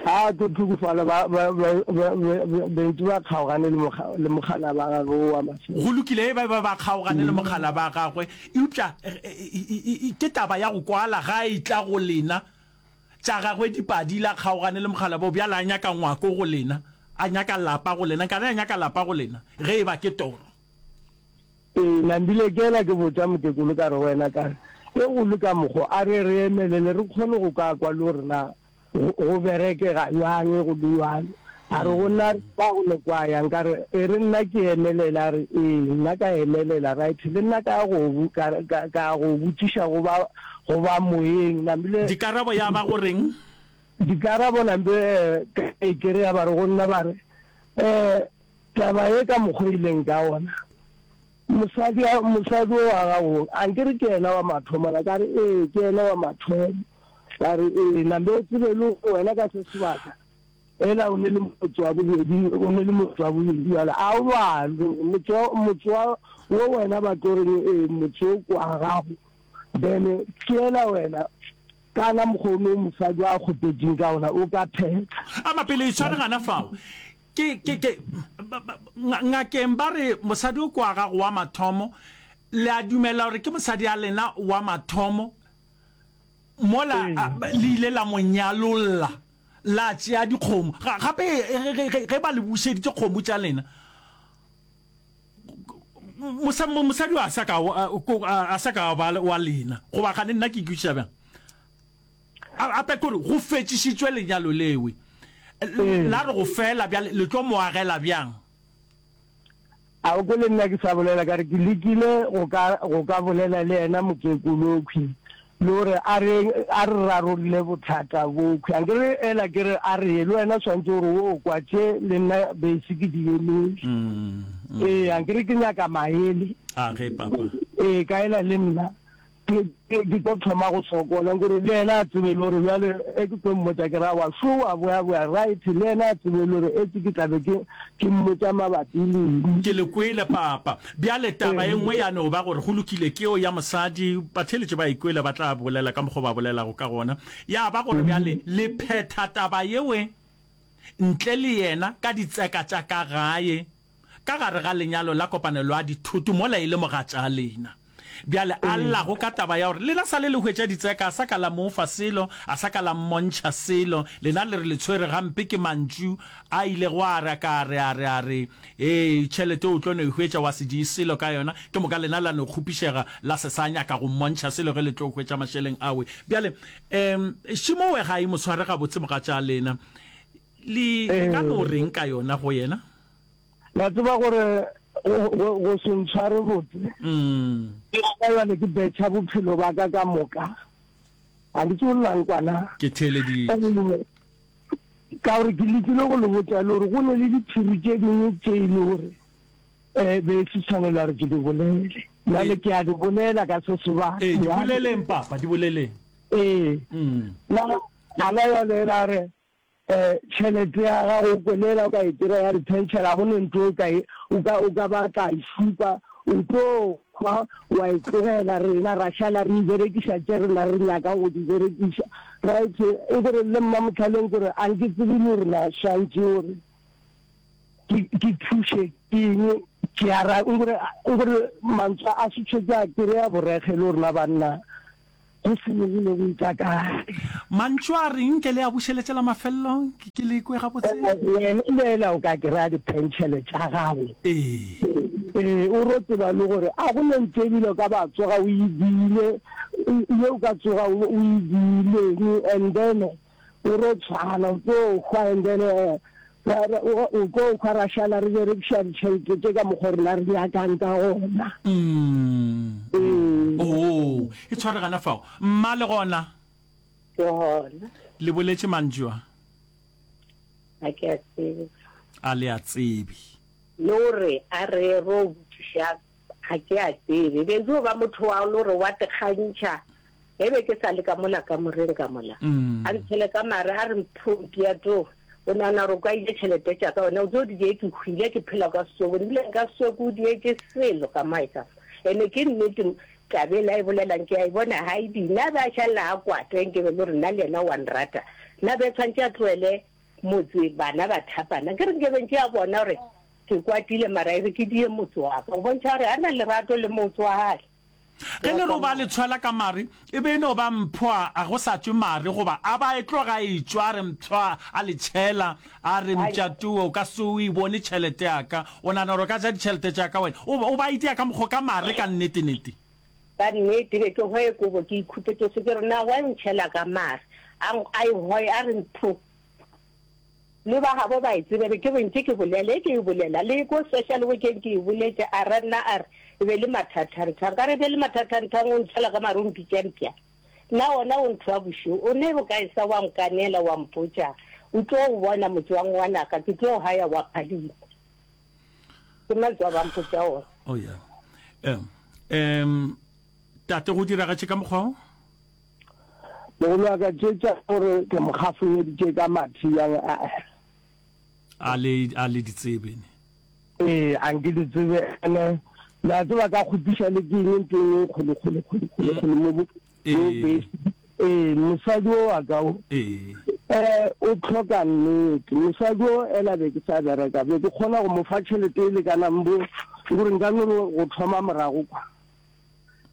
Speaker 3: A tlo hlokofala ba, ba, ba, ba, ba, bentši ba kgaogane le mokga, le mokgalaba wa gagwe wo wa mafelelo.
Speaker 1: Go lokile, ba be ba kgaogane le mokgalaba wa gagwe, eupša ke taba ya go kwala ga a etla go lena. Tša gagwe di padile, a kgaogane le mokgalaba wo, bjale a nyaka ngwako go lena, a nyaka lapa go lena. Nkane a nyaka lapa go lena, ge e ba ke toro.
Speaker 3: Ee, nambile ke ela ke botša mokekolo ka re go yena ka re, Ge go le ka mokgo, a re re emelele re kgone go ka kwa le gore na go, go berekega bjang go le bjalo. A re go nna, Ba go le kwa yang? Ka re, E re nna ke emelele. A re, Ee, nna ka emelela. Right, le nna ka ya go, ka, ka, ka ya go botšiša go ba, go ba moyeng. Nambile.
Speaker 1: Dikarabo ya ba go reng?
Speaker 3: Dikarabo nambe, eh, ka e kereya ba re go nna ba re, Eh, Taba ye ka mokgwa e ileng ka gona, mosadi, mosadi o wa gago, a nke re ke yena wa mathomo na? Ka re, Ee, ke yena wa mathomo. Ka re, Ee, nambe o tsebe le gore wena ka se sebaka ela o ne le motse wa bobedi, o ne le motse wa bobedi bjale a o balwe. Motse wa, motse wa wo wena ba tlo reng, ee, motse o ke wa gago. Then ke ela wena kana mokgwa o no mosadi a kgopetšeng ka ona o ka phetha.
Speaker 1: A mapele itshware gana fao. Ke, ke, ke, ngakeng ba re mosadi o ke wa gago wa mathomo. Le a dumela gore ke mosadi a lena wa mathomo? Mola le ile la mo nyalolla, la tšea dikgomo. Gape ge ba le bušeditše kgomo tša lena, mosadi a sa ka, a sa ka ba wa lena. Goba gane nna ke ikwešiša bjang? Gape ke gore go fetšišitšwe lenyalo lewe. La re go fela bjale le tlo mo agela bjang?
Speaker 3: A o kwele nna ke sa bolela ka re ke lekile go ka go ka bolela le yena mokekolokhwi le gore a re a re rarolle bothata bokhwi. A nkere ela ke re a re ye le wena swantse gore o kwa tše le nna basic ke di emele. Ee, a nkere ke nyaka maele.
Speaker 1: A ge papa.
Speaker 3: Ee, ka ela le nna. Ke, ke, ke tlo thoma go sokola, nkore le yena a tsebe le gore bjale e ke tlo mmotša ke ra wa šo wa boya-boya, right, le yena a tsebe le gore etše ke tla be ke, ke mmotša mabapi le eng.
Speaker 1: Ke le kwele, Papa. Bjale taba e nngwe ya no ba gore go lokile, ke yeo ya mosadi, batheeletši ba e kwele, ba tla bolela ka mokgwa o ba bolelago ka gona. Ya ba gore bjale le phetha taba yewe ntle le yena ka ditseka tša ka gae, ka gare ga lenyalo la kopanelo ya dithoto mola e le mogatša lena. Bjale a llago ka taba ya gore lena sa le le hwetša ditseka, a sa ka la mo fa selo, a sa ka la mmontšha selo, lena le re le tshwere gampe ke mantšu a ilego a re a ka re a re a re, Ee, tšhelete o tlo no e hwetša wa se die selo ka yona, ke moka lena la no kgopišega la se sa nyaka go mmontšha selo ge le tlo hwetša mašeleng awe. Bjale, um, Šimowe ga e mo tshware gabotse mogatša lena. Le, le ka no reng ka yona go yena?
Speaker 3: La tseba gore go, go, go se ntshware botse. Ke gona bjale ke betšha bophelo ba ka ka moka. Ga ke tsebe la nkwa na.
Speaker 1: Ke theeleditše.
Speaker 3: Ka gore ke lekile go le botša le gore go ne le diphiri tše dingwe tše e le gore um be se tshwanela gore ke di bolele. Bjale ke a di bolela ka se sebaka.
Speaker 1: Ee, di boleleng, Papa, di boleleng.
Speaker 3: Ee. Na, gona bjale la re, um tšhelete ya gago o kwelela o ka e kry-a ya di-pension, ga go ne ntho o ka e, o ka, o ka ba tla e šupa, O tlo hwa wa e tlogela rena ra šala re e berekiša tše rena re nyakang go di berekiša. Right, e ke re le Mmamohlaleng ke re a nke tsebe le gore na swantše gore ke ke thuše ke eng ke a ra nkore nkore mantswe a setswe ke a kry-a borekge le rena banna go senyegile go itša kae.
Speaker 1: Mantšu a reng ke le a bušeletše la mafelelo ke ke le kwe gabotse.
Speaker 3: Wena le o ka kry-a dipentšhele tša gago.
Speaker 1: Ee.
Speaker 3: Ee, o ro tseba le gore a go ne ntho ebile o ka ba tsoga o e diile, ye o ka tsoga o e diileng and then o ro tshwana o tlo hwa and then o tlo hwa ra šala re berekiša ditšhelete tše ka mokgwa rena re nyakang ka gona.
Speaker 1: Mm.
Speaker 3: Ee.
Speaker 1: Oo, e tshware gana fao. Mma le gona?
Speaker 2: Ke gona.
Speaker 1: Le boletše mantšu a?
Speaker 2: A ke a tsebe.
Speaker 1: A le a tsebe.
Speaker 2: Le gore a re ro botšiša ga ke a tsebe. Be jo ba motho wa le gore wa tekgantšha. E be ke sa le ka mola kamoreng ka mola. A ntshele ka mare a re mphompi ya to. O nagana gore o ka ile tšhelete tša ka wena o tlo di die ke hwile ke phela ka soko ebile nka soko o dietše selo ka mae ka. Ene ke nnete taba ela e bolelang ke a e bona ga e di nna be a šalela a kwata nke be le gore nna le yena wa nrata. Nna be tshwantše a tlohele motse bana ba thapana ke re nke be ntše a bona gore ke kwatile mara e re ke die motse wa ka go bontšha gore a na lerato le motse wa gae.
Speaker 1: Ge le re o ba le tshwela ka mare, e be e no ba mphwa a go sa tšwe mare, goba a ba e tloga e tšwa, a re mphwa a le tšhela, a re mpša towe, o ka se o e bone tšhelete ya ka, o nagana gore o ka ja ditšhelete tša ka wena, o, o ba itia ka mokgwa ka mare ka nnete-nete.
Speaker 2: Ka nnete, be ke hwaye kobo ke ikhupetše se ke re na wa ntšhela ka mare, a, a e hwaye a re mpho. Le ba gabo ba e tsebe, be ke re ntše ke bolela, e ke e bolela, le ko social workeng ke e boletše, a ra nna a re, e be le mathathanthang, ka re e be le mathathanthang, o ntšhela ka mare o mpitša mpša. Nna wona o ntho wa bošego, o ne bokae sa wa nkanela wa mpotša, o tlo o bona motse wa ngwanaka, ke tlo haya wa phadima. Ke mantswe a ba mpotša ona.
Speaker 1: Oh yeah. Um, um, tate go diragatše ka mokgwa o?
Speaker 3: Mogolo wa ka tše tša gore ke mo gafoeditše ka mathe yang a.
Speaker 1: A le, a le di tsebe ne?
Speaker 3: Ee, a nke di tsebe ene. Le a tseba ka kgopiša le ke eng ntho e kgolo kgolo kgolo kgolo kgolo mo bo.
Speaker 1: Ee.
Speaker 3: Ee, mosadi o wa ka o.
Speaker 1: Ee.
Speaker 3: Eh, o tlhoka nnete. Mosadi o ela be ke sa bereka, be ke kgona go mo fa tšhelete e lekanang bo gore nka no go thoma morago kwa.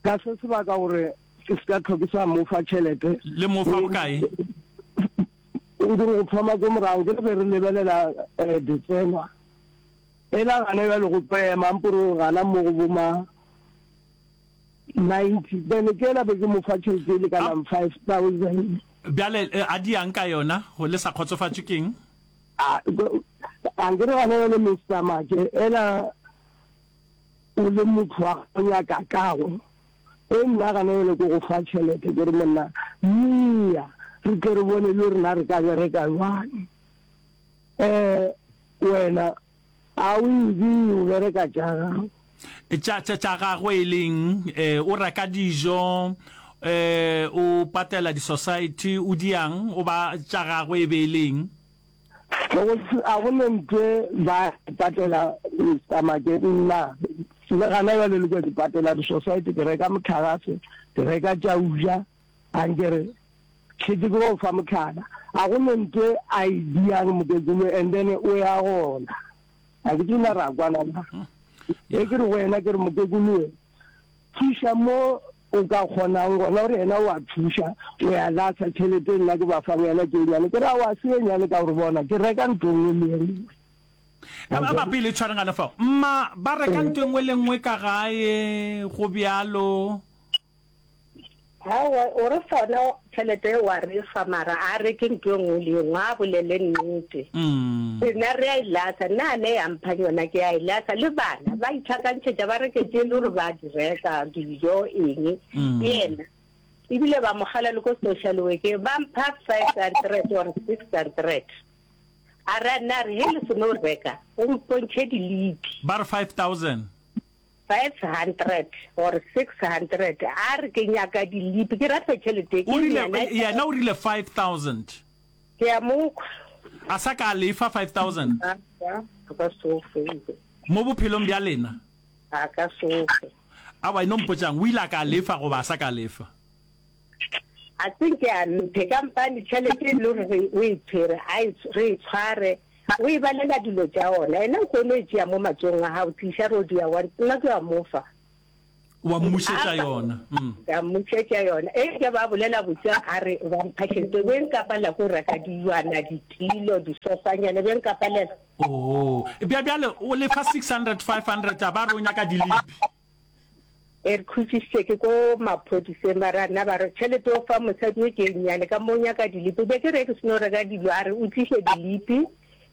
Speaker 3: Ka se sebaka gore ke se ka tlhoke sa mo fa tšhelete.
Speaker 1: Le mo fa bokae?
Speaker 3: Nke go thoma ko morago ke re be re lebelela eh, ditsenwa. Ela gana bjale go tlo ema mpore gana mo go boma ninety. Then ke ela be ke mo fa tšhelete e lekanang five thousand.
Speaker 1: Bjale a di yang ka yona go le sa kgotsofatšwe keng?
Speaker 3: A a nke re gana bjale Mister Make ela o le motho wa go nyaka kago. E nna gana bjale ke go fa tšhelete ke re monna mia re tle re bone le rena re ka bereka jwang. Eh wena a o e o bereka tša gago.
Speaker 1: Tša tša tša gagwe e leng eh o reka dijo eh o patela di society o diang o ba tša gagwe e be e leng.
Speaker 3: A go ne ntwe ba patela Mister Make nna le gana bjale le ke patela di society ke reka motlhagase ke reka tša uja a nkere tšhetse ke go fa motlhala a go ne ntwe a e diang mokekolo and then o ya gona a ke tsena ra kwana na e ke re go wena ke re mokekolo thuša mo o ka kgonang gona gore yena o a thuša o ya lasa tšhelete nna ke ba fang yena ke nyane ke ra wa se nyane ka gore bona ke reka ntlo nngwe le nngwe.
Speaker 1: Ba ba pele tshwareng gana fao mma ba reka ntlo nngwe le nngwe ka gae go bjalo.
Speaker 2: Aowa o re fona tšhelete wa re fa mara a reke ntlo nngwe le nngwe a bolele nnete. Rena re a e lasa nna a ne ya mpha yona ke a e lasa le bana ba itlhakantšhetša ba reke tše le gore ba di reka dijo eng yena ebile ba mogala le ko social workeng ba mpha five hundred or six hundred a re nna re he le seno reka o mpontšhe dilipi
Speaker 1: ba re five thousand
Speaker 2: five hundred or six hundred a re ke nyaka dilipi ke rata tšhelete
Speaker 1: ke yena o rile five thousand
Speaker 2: ke a mokwa
Speaker 1: a sa ka lefa five thousand mo bophelong bja lena
Speaker 2: A ka sofe.
Speaker 1: Aowa, e no mpotšang, o ile a ka lefa goba a sa ka lefa?
Speaker 2: A se nke a mphe, kampane tšhelete e le gore re, o e tshwere, a e, re e tshware, o e balela dilo tša ona. Yena o kgono e tšea mo matsogong a gago, tliša re o dia one, nna ke a mo fa.
Speaker 1: Wa mmušetša yona. Mm.
Speaker 2: Ka mmušetša yona. Eupša ba bolela botse a re ba mpha tšhelete, be nkapalela ko reka dilwana, ditilo, disofanyana, be nkapalela.
Speaker 1: Oo. Bja bjale o lefa six hundred, five hundred, a ba re o nyaka dilipi.
Speaker 2: E re khutšišitše ke ko maphodiseng ba ra nna ba re tšhelete o fa mosadi o ke e nnyane ka mo o nyaka dilipi. Be ke re ke seno reka dilo a re o tliše dilipi,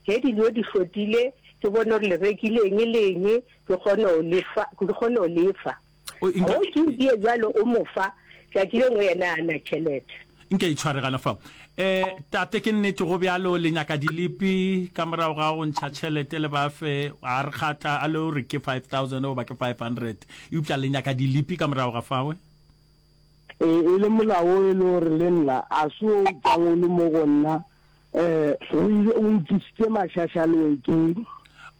Speaker 2: ge dilo di hlotile ke bone gore le rekile eng le eng ke kgone go lefa, ke kgone go lefa.
Speaker 1: O, nka,
Speaker 2: Go ke die bjalo o mo fa, tšatši le nngwe yena a na tšhelete.
Speaker 1: Nke e tshware gana fao. Eh, tate ke nnete go bjalo le nyaka dilipi ka morago ga go ntšha tšhelete le ba fe, a re kgatla a le o re ke five thousand goba ke five hundred, eupša le nyaka dilipi ka morago ga fawe?
Speaker 3: E, e le molao o e le gore le nna a se o tšwang o le mo go nna, eh, o ile o ntlišitše mašašalwekeng.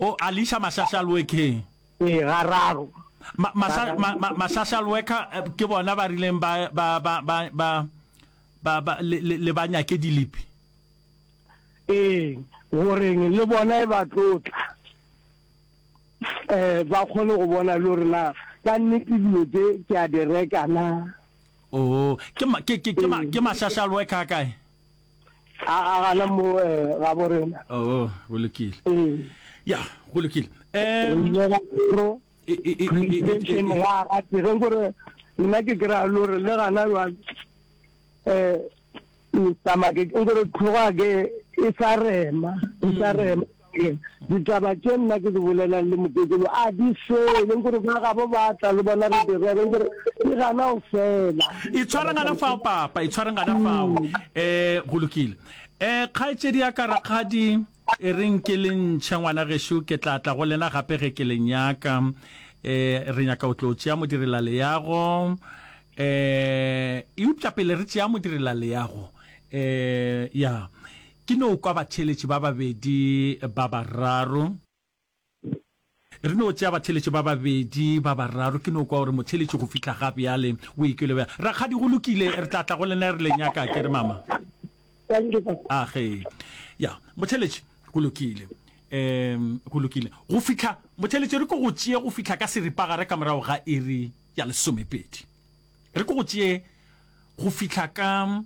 Speaker 1: O a le iša mašašalwekeng?
Speaker 3: Ee, gararo.
Speaker 1: Ma, maša, ma, ma, mašašalweka ke bona ba rileng ba, ba, ba, ba, ba, ba, ba, le, le, le ba nyake dilipi?
Speaker 3: Ee, goreng le bona e ba tlo tla, eh, ba kgone go bona le gore na ka nnete dilo tše ke a di reka na.
Speaker 1: Oo, ke ma, ke, ke, ke ma, ke mašašalweka a kae?
Speaker 3: A, a gana mo, eh, gabo rena.
Speaker 1: Oo, go lokile.
Speaker 3: Ee.
Speaker 1: Ya, go lokile.
Speaker 3: Re
Speaker 1: Um,
Speaker 3: ile ga pro
Speaker 1: e, e, e, e, e,
Speaker 3: police
Speaker 1: e,
Speaker 3: station
Speaker 1: e,
Speaker 3: gwa gate ge nkore nna ke kry-a le gore le gana jwale um Mister Makeke nkore tlhoga ke e sa rema e sa rema ditaba tše nna ke di bolelang le mokekolo a di fele nkore ba gabo ba tla le bona re di rere nkore di gana go fela.
Speaker 1: Itshware gana fao papa, itshware gana fao. Eh, go lokile. Eh, kgaetšedi ya ka rakgadi, e reng ke le ntšhe ngwana gešo, ke tla tla go lena gape ge ke le nyaka. Eh, re nyaka o tlo tšea modirelaleago. Eh, eupša pele re tšea modirelaleago, eh, ya, ke no kwa batheeletši ba babedi ba bararo. Re no tšea batheeletši ba babedi ba bararo, ke no kwa gore motheeletši go fihla ga bjale o ikwele bjang. Rakgadi, go lokile, re tla tla go lena re le nyaka, ke re mama?
Speaker 4: Thank you, papa.
Speaker 1: A ge. Ya, motheeletši, go lokile. Um, go lokile. Go fihla, motheeletši, re ko go tšee go fihla ka seripagare ka morago ga iri ya lesomepedi. Re ko go tšee go fihla ka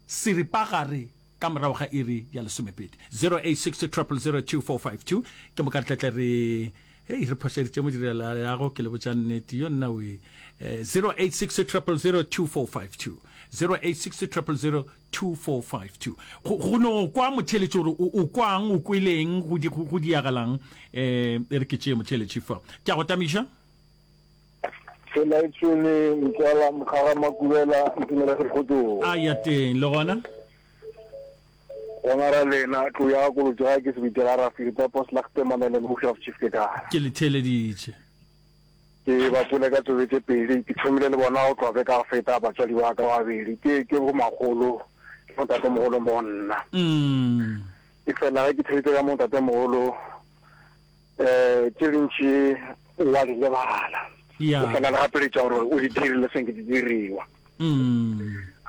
Speaker 1: seripagare ka morago ga iri ya lesomepedi. zero eight six triple zero two four five two. Ke moka re tletle re, hei, re phošeditše modirela yago, ke le botša nnete, yo nna we. Eh, zero eight six triple zero two four five two. zero eight six triple zero two four five two. Go, go no kwa motheeletši gore o, o kwang, o kweleng, go di, go, go diagalang. Eh, e re ke tšee motheeletši fa. Ke a go tamiša.
Speaker 6: Ke laetšwele ntswala Mokgaga Makubela Ntumela Sekgotong.
Speaker 1: A ya teng le gona.
Speaker 6: Gona ra lena tlo ya kolotse ga ke sebitela ra feta poslagte manene mo Chief Chief ke kae.
Speaker 1: Ke le theeleditše.
Speaker 6: Ke ba pole ka tsebe tše pedi ke thomile le bona go tloga ke ka feta batswadi ba ka ba babedi ke ke bo magolo ke motate mogolo mo nna.
Speaker 1: Mm.
Speaker 6: E fela ge ke theeditše ka motate mogolo eh tše dintši wa di lebala.
Speaker 1: Ya.
Speaker 6: O fela le gapeletša gore o di dirile senke di diriwa.
Speaker 1: Mm.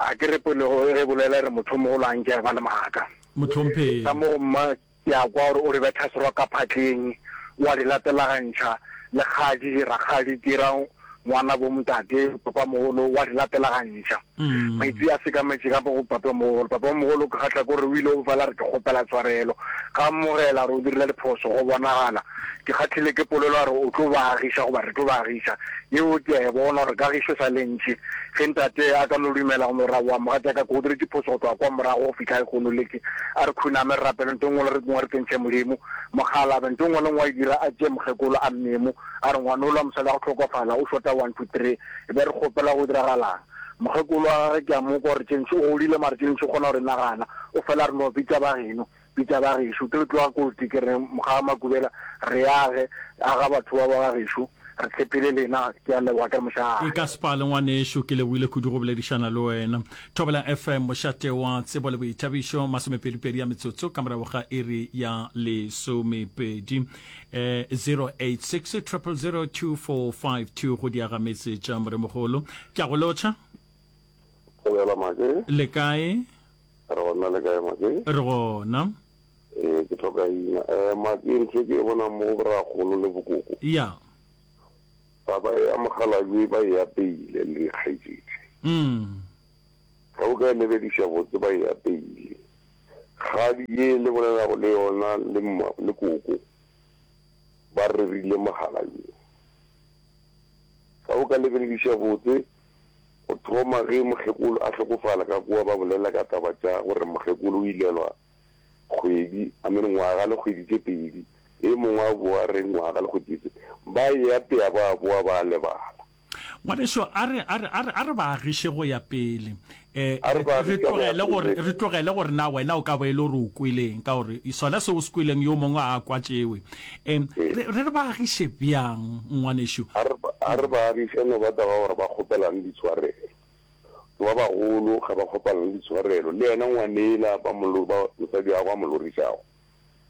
Speaker 6: A ke re pele go ge bolela re motho mogolo a nke a ba le maaka.
Speaker 1: Mohlomphegi.
Speaker 6: Ka mo go mma ke a kwa gore o re betha serwa ka phatleng, wa di latelagantšha, lekgadi, rakgadi, ke ra ngwana bo ntate, papa mogolo, wa di latelagantšha.
Speaker 1: Mm.
Speaker 6: Maitsi a sekametše ka mo go papa mogolo. Papa mogolo ke kgahla ke gore o ile o fela re ke kgopela tshwarelo. Ga amogela gore o dirile diphoso go bonagala. Ke kgahlile ke polelo ya gore o tlo ba agiša goba re tlo ba agiša. Yeo ke a e bona gore kagišo e sa le ntši. Ge ntate a ka no dumela go no ra oa mogatšaka ke go diretše phoso go tloga kwa morago go fihla lehono le ke a re khuname re rapele ntho e nngwe le re nngwe re tsentšhe Modimo. Mokgalabje ntho e nngwe le nngwe a e dira a tšee mokgekolo a mmemo a re ngwanola mosadi wa go hlokofala o shota one two three e be re kgopela go diragalang. Mokgekolo wa gagwe ke a mo kwa gore tše ntši o godile mara tše ntši o kgona go di nagana o fela a re no bitša ba geno bitša ba gešo ke le tloga kotsi ke re Mokgaga Makubela re age aga batho ba ba gešo Re tshepile lena. Ke a leboga, ke re mošate.
Speaker 1: E ka se pale ngwanešu, ke lebogile kudu go boledišana le wena. Thobela F M, mošate wa tsebo le boithabišo, masomepedipedi ya metsotso ka morago ga iri ya lesomepedi. Eh, zero eight six triple zero two four five two go diaga metse tša Moremogolo. Ke a go lotšha.
Speaker 7: Thobela Make.
Speaker 1: Le kae?
Speaker 7: Re gona, le kae Make?
Speaker 1: Re gona.
Speaker 7: Ee, ke hloka ina. Eh, Make, ntho e ke e bonang mo go borakgolo le bokoko.
Speaker 1: Ya.
Speaker 7: Taba ya mokgalabje ba e apeile le dikgaetšedi.
Speaker 1: Mm.
Speaker 7: Ge o ka e lebediša botse ba e apeile. Kgadi ye le bolelago le yona le mma le koko ba rerile mokgalabje. Ge o ka lebelediša botse go thoma ge mokgekolo a hlokofala ka kua ba bolela ka taba tša gore mokgekolo o ilelwa kgwedi, I mean ngwaga le kgwedi tše pedi, e mongwe a boa re ngwaga le kgwedi tše, ba e apea ba boa ba lebala.
Speaker 1: Ngwaneso, a re, a re, a re, a re ba agiše go ya pele. Eh,
Speaker 7: A re ba
Speaker 1: re
Speaker 7: agiše go ya
Speaker 1: tlogele gore,
Speaker 7: pele.
Speaker 1: Re tlogele gore na wena o ka ba e le gore o kweleng, ka gore sona seo o se kweleng yo mongwe a kwa tšewe. Em,
Speaker 7: Ee.
Speaker 1: re, re re ba agiše bjang, ngwaneso?
Speaker 7: A re, a re ba agiše no ba taba gore ba kgopelane ditshwarelo. Ke ba bagolo ga ba kgopelane ditshwarelo. Le yena ngwanela ba mo lo, ba mosadi wa gagwe a mo lorišago.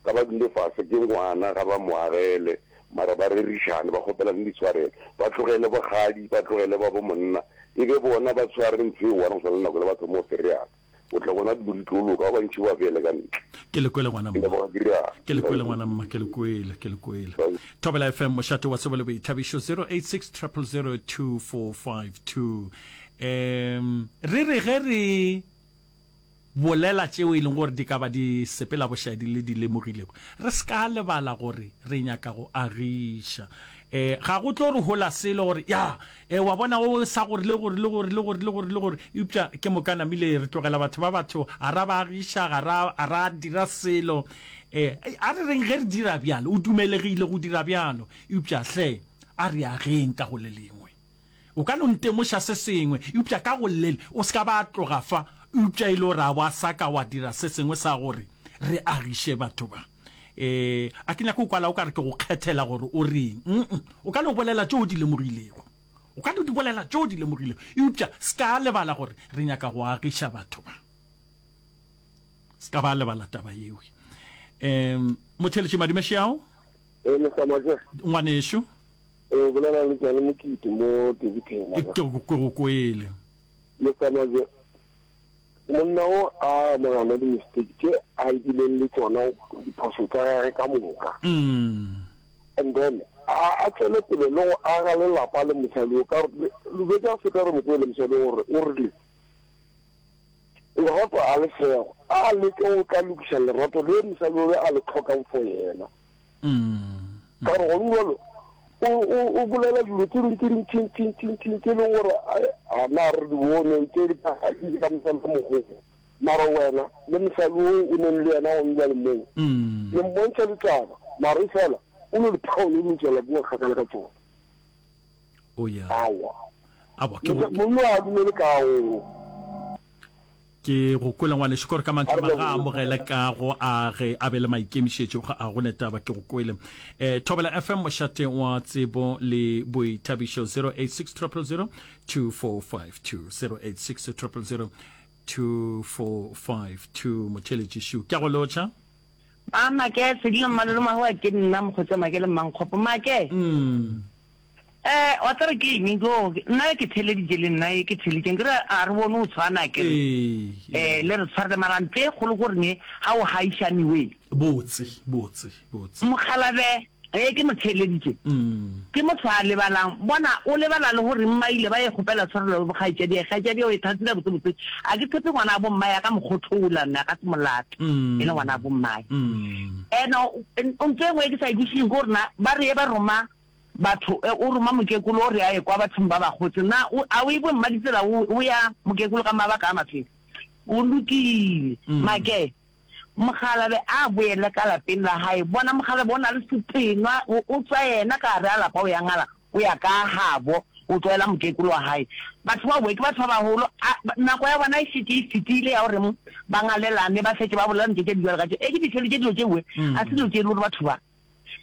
Speaker 7: Ga ba dule fase ke ngwana ga ba mo agele mara ba rerišane ba kgopelane ditshwarelo. Ba tlogele bogadi, ba tlogele ba bo monna. E be bona ba tshware ntho e one go swana le nako le ba thoma go fereana. O tla bona dilo di tlo loka, ba bantši ba beele ka ntle.
Speaker 1: Ke le kwele ngwana
Speaker 7: Ke
Speaker 1: mma.
Speaker 7: leboga ke rialo.
Speaker 1: Ke le kwele ngwana mma, ke le kwele, ke le kwele. Thobela F M, mošate wa tsebo le boithabišo, zero eight six triple zero two four five two. Um, re re ge re bolela tšeo e leng gore di ka ba di sepela bošaedi le di lemogilego, re se ka lebala gore re nyaka go agiša. Um ga go tlo re hola selo gore ya e wa bona o sa gore le gore le gore le gore le gore le gore, eupša ke moka namile re tlogela batho ba batho a ra ba agiša, ga ra a ra dira selo. Um a re reng ge re dira bjalo, o dumelegile go dira bjalo, eupša hle a re ageng ka go le lengwe. O ka no ntemoša se sengwe, eupša ka go lele o se ka ba tloga fa, eupša e le gore a wa sa ka wa dira se sengwe sa gore re agiše batho ba. Um a ke nyake o kwala o ka re ke go kgethela gore o reng. Mm o ka no bolela tšeo o di lemogilego, o ka no di bolela tšeo o di lemogilego, eupša se ka lebala gore re nyaka go agiša batho ba. Se ka ba lebala taba yeo. Um motheletši madumešeao.
Speaker 7: Ee, Mister Make.
Speaker 1: Ngwanešu.
Speaker 7: O bolela le Tsane Mokete mo Daveyton.
Speaker 1: Ke go ke go kwele.
Speaker 7: Mister Make, monna o a amogela di-mistake tše a bileng le tsona, diphoso tša gage ka moka.
Speaker 1: Mm.
Speaker 7: And then a a tswele pele le go aga lelapa le mosadi o ka gore le tša feta re mo kwele mosadi gore o rile lerato a le sego a leke o tla lokiša lerato le mosadi o a le tlhokang for yena.
Speaker 1: Mm.
Speaker 7: Ka gore gone jalo o o o bolela dilo tse dingwe tse dintšintšintšintšintši tse e leng gore a na re di bone tse di ka mosadi wa mogolo, mara wena le mosadi o o neng le yena gone jale moo
Speaker 1: Mm.
Speaker 7: le mmontšha ditaba, mara e fela o no diphaone o tswela kua kgakala ka tsona.
Speaker 1: O ya.
Speaker 7: Awa.
Speaker 1: Awa ke go
Speaker 7: monna a dumele ka o
Speaker 1: ke go kwele ngwanešu, kore ka mantšu
Speaker 7: A re
Speaker 1: ma ga
Speaker 7: leboge.
Speaker 1: amogele kago a ge a be le maikemišetšo, ga a go ne taba, ke go kwele. um Thobela F M, mošate wa tsebo le boithabišo, zero eight six triple zero two four five two, zero eight six triple zero two four five two. Motheletši šu, ke a go lotšha.
Speaker 4: A Make sedilo mmalolo mahoa ke nna mokgotse Make le mmankgopo Make.
Speaker 1: Mm.
Speaker 4: Eh wa tsere ke eng go nna ke theleditše le nna e ke theleditše ke re a re bone o tshwana ke re
Speaker 1: ee
Speaker 4: eh le re tshwarele mara ntse e kgolo gore ne ga o haišane we
Speaker 1: botse botse botse.
Speaker 4: Mokgalabe e ke mo theleditše
Speaker 1: Mm.
Speaker 4: ke motho a lebalang bona o lebala le gore mma ile ba e kgopela tshwarelo le bokgaetšadi kgaetšadi o e thatile botse botse a ke tshepe ngwana a bomma ya ka mokgothola nna ga se molato
Speaker 1: Mm.
Speaker 4: e le ngwana a bommae.
Speaker 1: Mm.
Speaker 4: Ene o ntse e nngwe e ke sa e kwešišeng ke gore na ba re ye ba roma batho e, o roma mokekolo o re a ye kwa bathong ba bagotse na o a o e bo mma ditsela o o ya mokekolo ka mabaka a mafeng o lokile.
Speaker 1: Mm.
Speaker 4: Make mogalabe a boele ka lapeng la hae bona mogalabe o na le setenwa o o tswa yena ka gare a lapa o ya ngala o ya ka gabo o tlwaela mokekolo wa hae batho ba boe ke batho ba bagolo a- ba- nako ya bona e šetše e fetile ya gore ba ngalelane ba fetse ba bolela ntho tše di jalo ka tše e ke di theleditše dilo tše bue
Speaker 1: Mm.
Speaker 4: a se dilo tše e le gore batho ba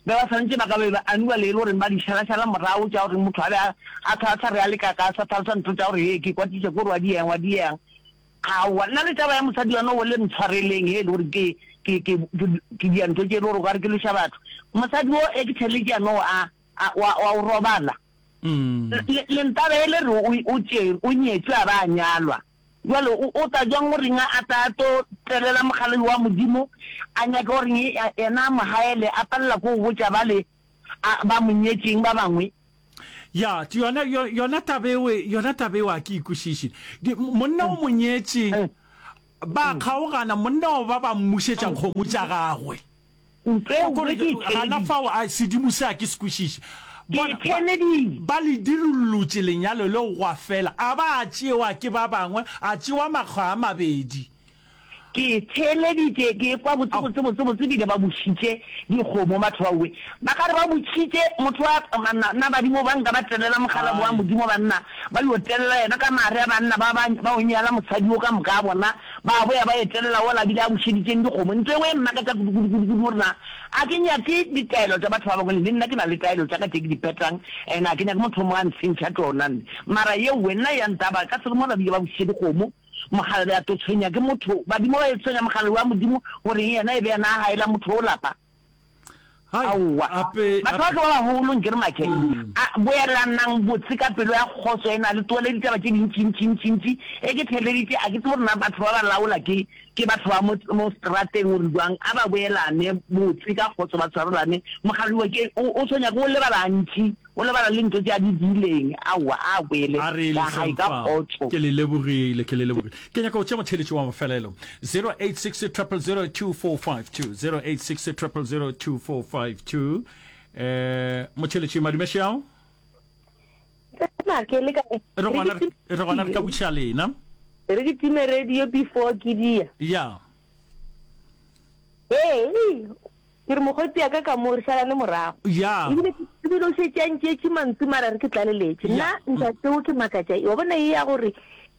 Speaker 4: Be ba swanetše ba ka be ba aniwa le e le goreng ba di šalašala morago tša gore motho a be a a tla a sa re a le ka ka a sa hlalosa ntho tša gore hee ke kwatitše ke gore wa di yang wa di yang. Aowa nna le taba ya mosadi wa no le ntshwareleng he e le gore ke ke ke ke ke dia ntho tše e le gore o ka re ke lweša batho. Mosadi wo e ke theletše ya no a a wa wa o robala. Le le ntaba e le re o o tšere o nyetšwe a ba a nyalwa. Bjale o, o tla bjang go reng a tla tlo telela mokgalabje wa Modimo, a nyake go reng yena a mo haele, a palela ke go botša bale a, ba mo nyetšeng ba bangwe?
Speaker 1: Ya, yona, yona taba eo, yona taba eo a ke e kwešiše. Monna o mo nyetše, ba kgaogana, monna o ba ba mmušetša kgomo tša gagwe.
Speaker 4: Ntlo e nngwe ke e
Speaker 1: Gana
Speaker 4: theeleditše.
Speaker 1: fao, a sedimo se a ke se kwešiše.
Speaker 4: Ke
Speaker 1: Bona,
Speaker 4: e
Speaker 1: ba,
Speaker 4: theeleditše.
Speaker 1: ba le dirollotše lenyalo leo gwa fela, a ba a tšewa ke ba bangwe, a tšewa makga a mabedi.
Speaker 4: Ke e theeleditše, ke ekwa botse,
Speaker 1: Ao.
Speaker 4: botse, botse, botse, ebile ba bušitše dikgomo batho ba we. Ba ka re ba butšhitše motho wa, na, na badimo ba nka ba telela mokgalabo wa
Speaker 1: Ai.
Speaker 4: Modimo banna, ba yo telela yena ka mare a banna ba, ba, ba o nyala mosadi wo ka moka a bona, Ba boya ba etelela wola a bile a bušeditšeng dikgomo. Ntho engwe e mmakatša kudu-kudu-kudu-kudu gore na a ke nyake ditaelo tša batho ba bangwe. Le nna ke na le taelo tša ka tše ke di phetang and a ke nyake motho o mongwe a ntshentšha tšona. Mara yeowe nna ya ntaba ka se mola bile ba bušitše dikgomo. Mokgalabje a tlo tshwenya ke motho. Badimo ba e tshwenya mokgalabje wa Modimo gore yena e be yena a gaela motho o lapa.
Speaker 1: Hai,
Speaker 4: Aowa.
Speaker 1: ape,
Speaker 4: Batho ba
Speaker 1: ape.
Speaker 4: ke ba bagolo nke re make. A, boelanang botse ka pelo ya kgotso e na le tlohele ditaba tše dintši-ntši-ntši-ntši. E ke theeleditše, a ke tsebe gore na batho ba ba laola ke, ke batho ba mo, mo seterateng gore jwang. A ba boelane botse ka kgotso ba tshwarelane. Mokgalabje ke, o, o tshwenya ke o lebala gantši. O lebala le ntho tše a di diileng. Aowa, a boele
Speaker 1: A re
Speaker 4: ka gae
Speaker 1: leseng
Speaker 4: ka
Speaker 1: fao.
Speaker 4: kgotso.
Speaker 1: Ke le lebogile, ke le lebogile. Ke nyaka go tšea motheeletši wa mafelelo. Zero eight six triple zero two four five two, zero eight six triple zero two four five two. Eh, motheeletši madume šeao.
Speaker 2: Tsena ke le kae?
Speaker 1: Re
Speaker 2: Re
Speaker 1: gona,
Speaker 2: ke
Speaker 1: re gona re ka botšiša lena.
Speaker 2: Re ke time radio before ke dia.
Speaker 1: Ya.
Speaker 2: Ee, ke re mokgotsi ya ka ka mo re šalane morago.
Speaker 1: Ya.
Speaker 2: Ebile ebile o šetše a ntšeetše mantšu mara re ke tlaleletše.
Speaker 1: Ya.
Speaker 2: Nna ntate o ke makatša wa bona ye ya gore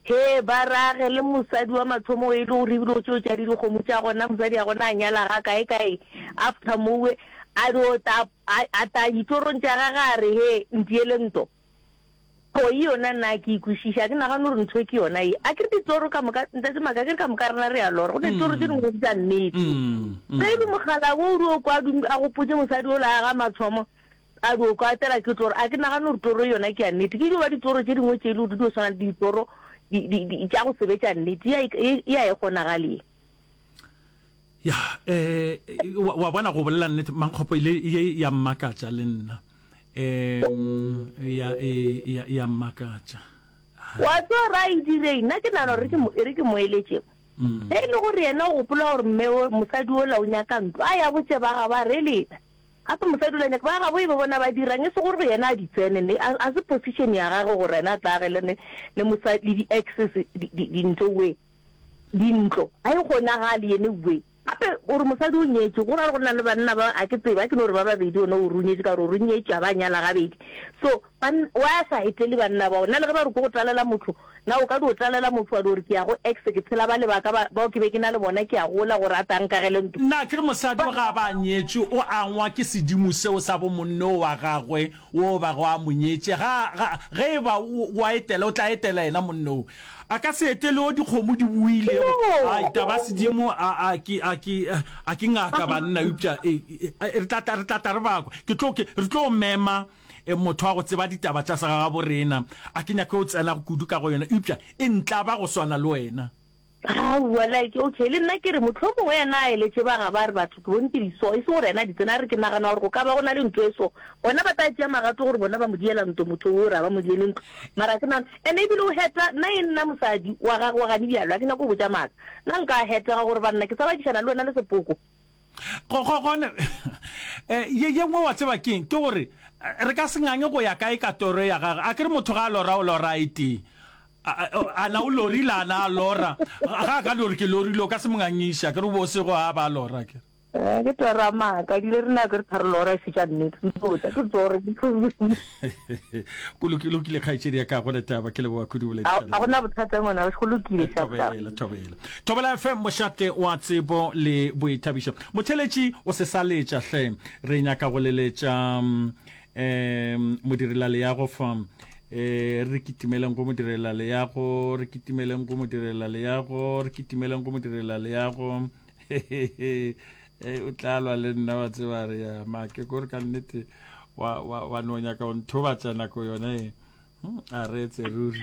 Speaker 2: he ba rage le mosadi wa mathomo e le gore ebile o tšeo tša di dikgomo tša gona mosadi ya gona a nyala ga kae kae after mowe a dio ta a ta ditorong tša gage a re he ntiele nto. Poi yona nna a ke e kwešiše, a ke nagane gore ntho e ke yona ye. A ke re ditoro ka moka, Ntate Maka, a ke re ka moka rena re a lora, go ne ditoro tše dingwe di tša nnete. Ge e le mogala wo o dio kwa a gopotše mosadi yola a ga mathomo, a dio kwa atela ke toro, a ke nagane gore toro yona ke ya nnete. Ke dio ba ditoro tše dingwe tše e le gore di dio swana le ditoro tša go se be tša nnete, ye a e kgonagale ye.
Speaker 1: Ya, eh, wa, wa bona go bolela nnete, Mankgopo ile ye ya mmakatša le nna. Um, ya, e, ya, ya mmakatša.
Speaker 2: Wa tseba ra e direng? Nna ke nagana gore ke mo, e re ke mo eletše. Ge e le gore yena o gopola gore mme o, mosadi ola o nyaka ntlo, a ya botše ba gabo a re lena. Gape mosadi ola nyaka, ba gabo e be bona ba dirang, e se gore yena a di tsene, ne, a, a se position ya gagwe gore yena a tla agele ne, le mosadi, le di-exes di, di, dintlo we. Dintlo, ga e kgonagale yene we. Gape o re mosadi o nyetše, go ra gore go na le banna ba, a ke tsebe, a ke no re ba babedi, ona o re o nyetše ka gore o re o nyetše a ba nyala gabedi. So, ban, why a sa etele banna bao? Na le ge ba re ke go tlalela motho, na o ka dio tlalela motho wa dio re ke ya go ex, ke tshela bale ba ka ba, bao ke be ke na le bona, ke a gola gore a tla nkagele ntlo?
Speaker 1: Na ke re mosadi o ga a ba a nyetšwe, o angwa ke sedimo seo sa bomonno wa gagwe wo bago a mo nyetše. Ga, ga, ge e ba o, o a etela, o tla etela yena monno wo. A ka se etele wo dikgomo di boilego. Ai, taba sedimo, a, a ke, a ke, a ke ngaka banna, eupša e, e, re tla tla, re tla tla re ba kwa. Ke tlo, ke, re tlo mema e, motho wa go tseba ditaba tša segagaborena. A ke nyake go tsena kudu ka go yona, eupša e ntlaba go swana le wena.
Speaker 2: Aowa, like, okay, le nna ke re mohlomongwe yena a eletše ba gabo a re batho ke bone ke di so, e se gore yena a di tsene, a re ke nagana gore go ka ba go na le ntlo e so, bona ba tla tšea magato gore bona ba mo diela ntlo motho o re a ba mo diele ntlo, mara ke nagana, and ebile o heta, nna e nna mosadi wa gagwe wa gane bjalo, a ke nyake go botša maaka, nna nka hetega gore banna ke sa badišana le wena le sepoko.
Speaker 1: Go, go, gone, eh, ye, ye nngwe wa tseba keng, ke gore re ka se ngange go ya kae ka toro ya gagwe, a ke re motho ga a lora o lora e tee. A na o lorile, a na a lora? Ga a ka no re ke lorile, o ka se mo ngangiše, a ke re o bo o sego a ba a lora, ke re.
Speaker 2: Eh, ke toro ya maaka ebile re nako re tharo lora e se tša nnete ke tlo tla ke toro ke
Speaker 1: Go lokile lokile kgaetšedi ya ka go le taba ke leboga kudu
Speaker 2: A
Speaker 1: boledišana
Speaker 2: a gona bothata ngwana go lokile sharp sharp.
Speaker 1: Thobela thobela Thobela F M mošate wa tsebo le boithabišo motheletši o se sa letša hle re nyaka go leletša um modirelaleago fa um re kitimeleng go modirelaleago re kitimeleng go modirelaleago re kitimeleng go modirelaleago Ee, o tla lwa le nna wa tseba re ya make kore ka nnete wa, wa, wa no nyaka go nthobatša nako yona e hmm, a re etse ruri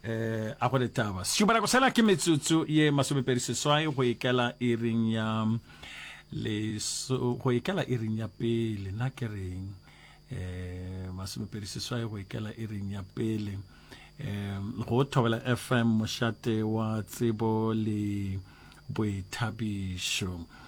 Speaker 1: eh a go le taba šupanako sela ke metsotso ye masomepedi seswai go ikela iring ya leso go ikela iring ya pele na ke reng eh masomepedi seswai go ikela iring ya pele eh go Thobela F M mošate wa tsebo le boithabišo.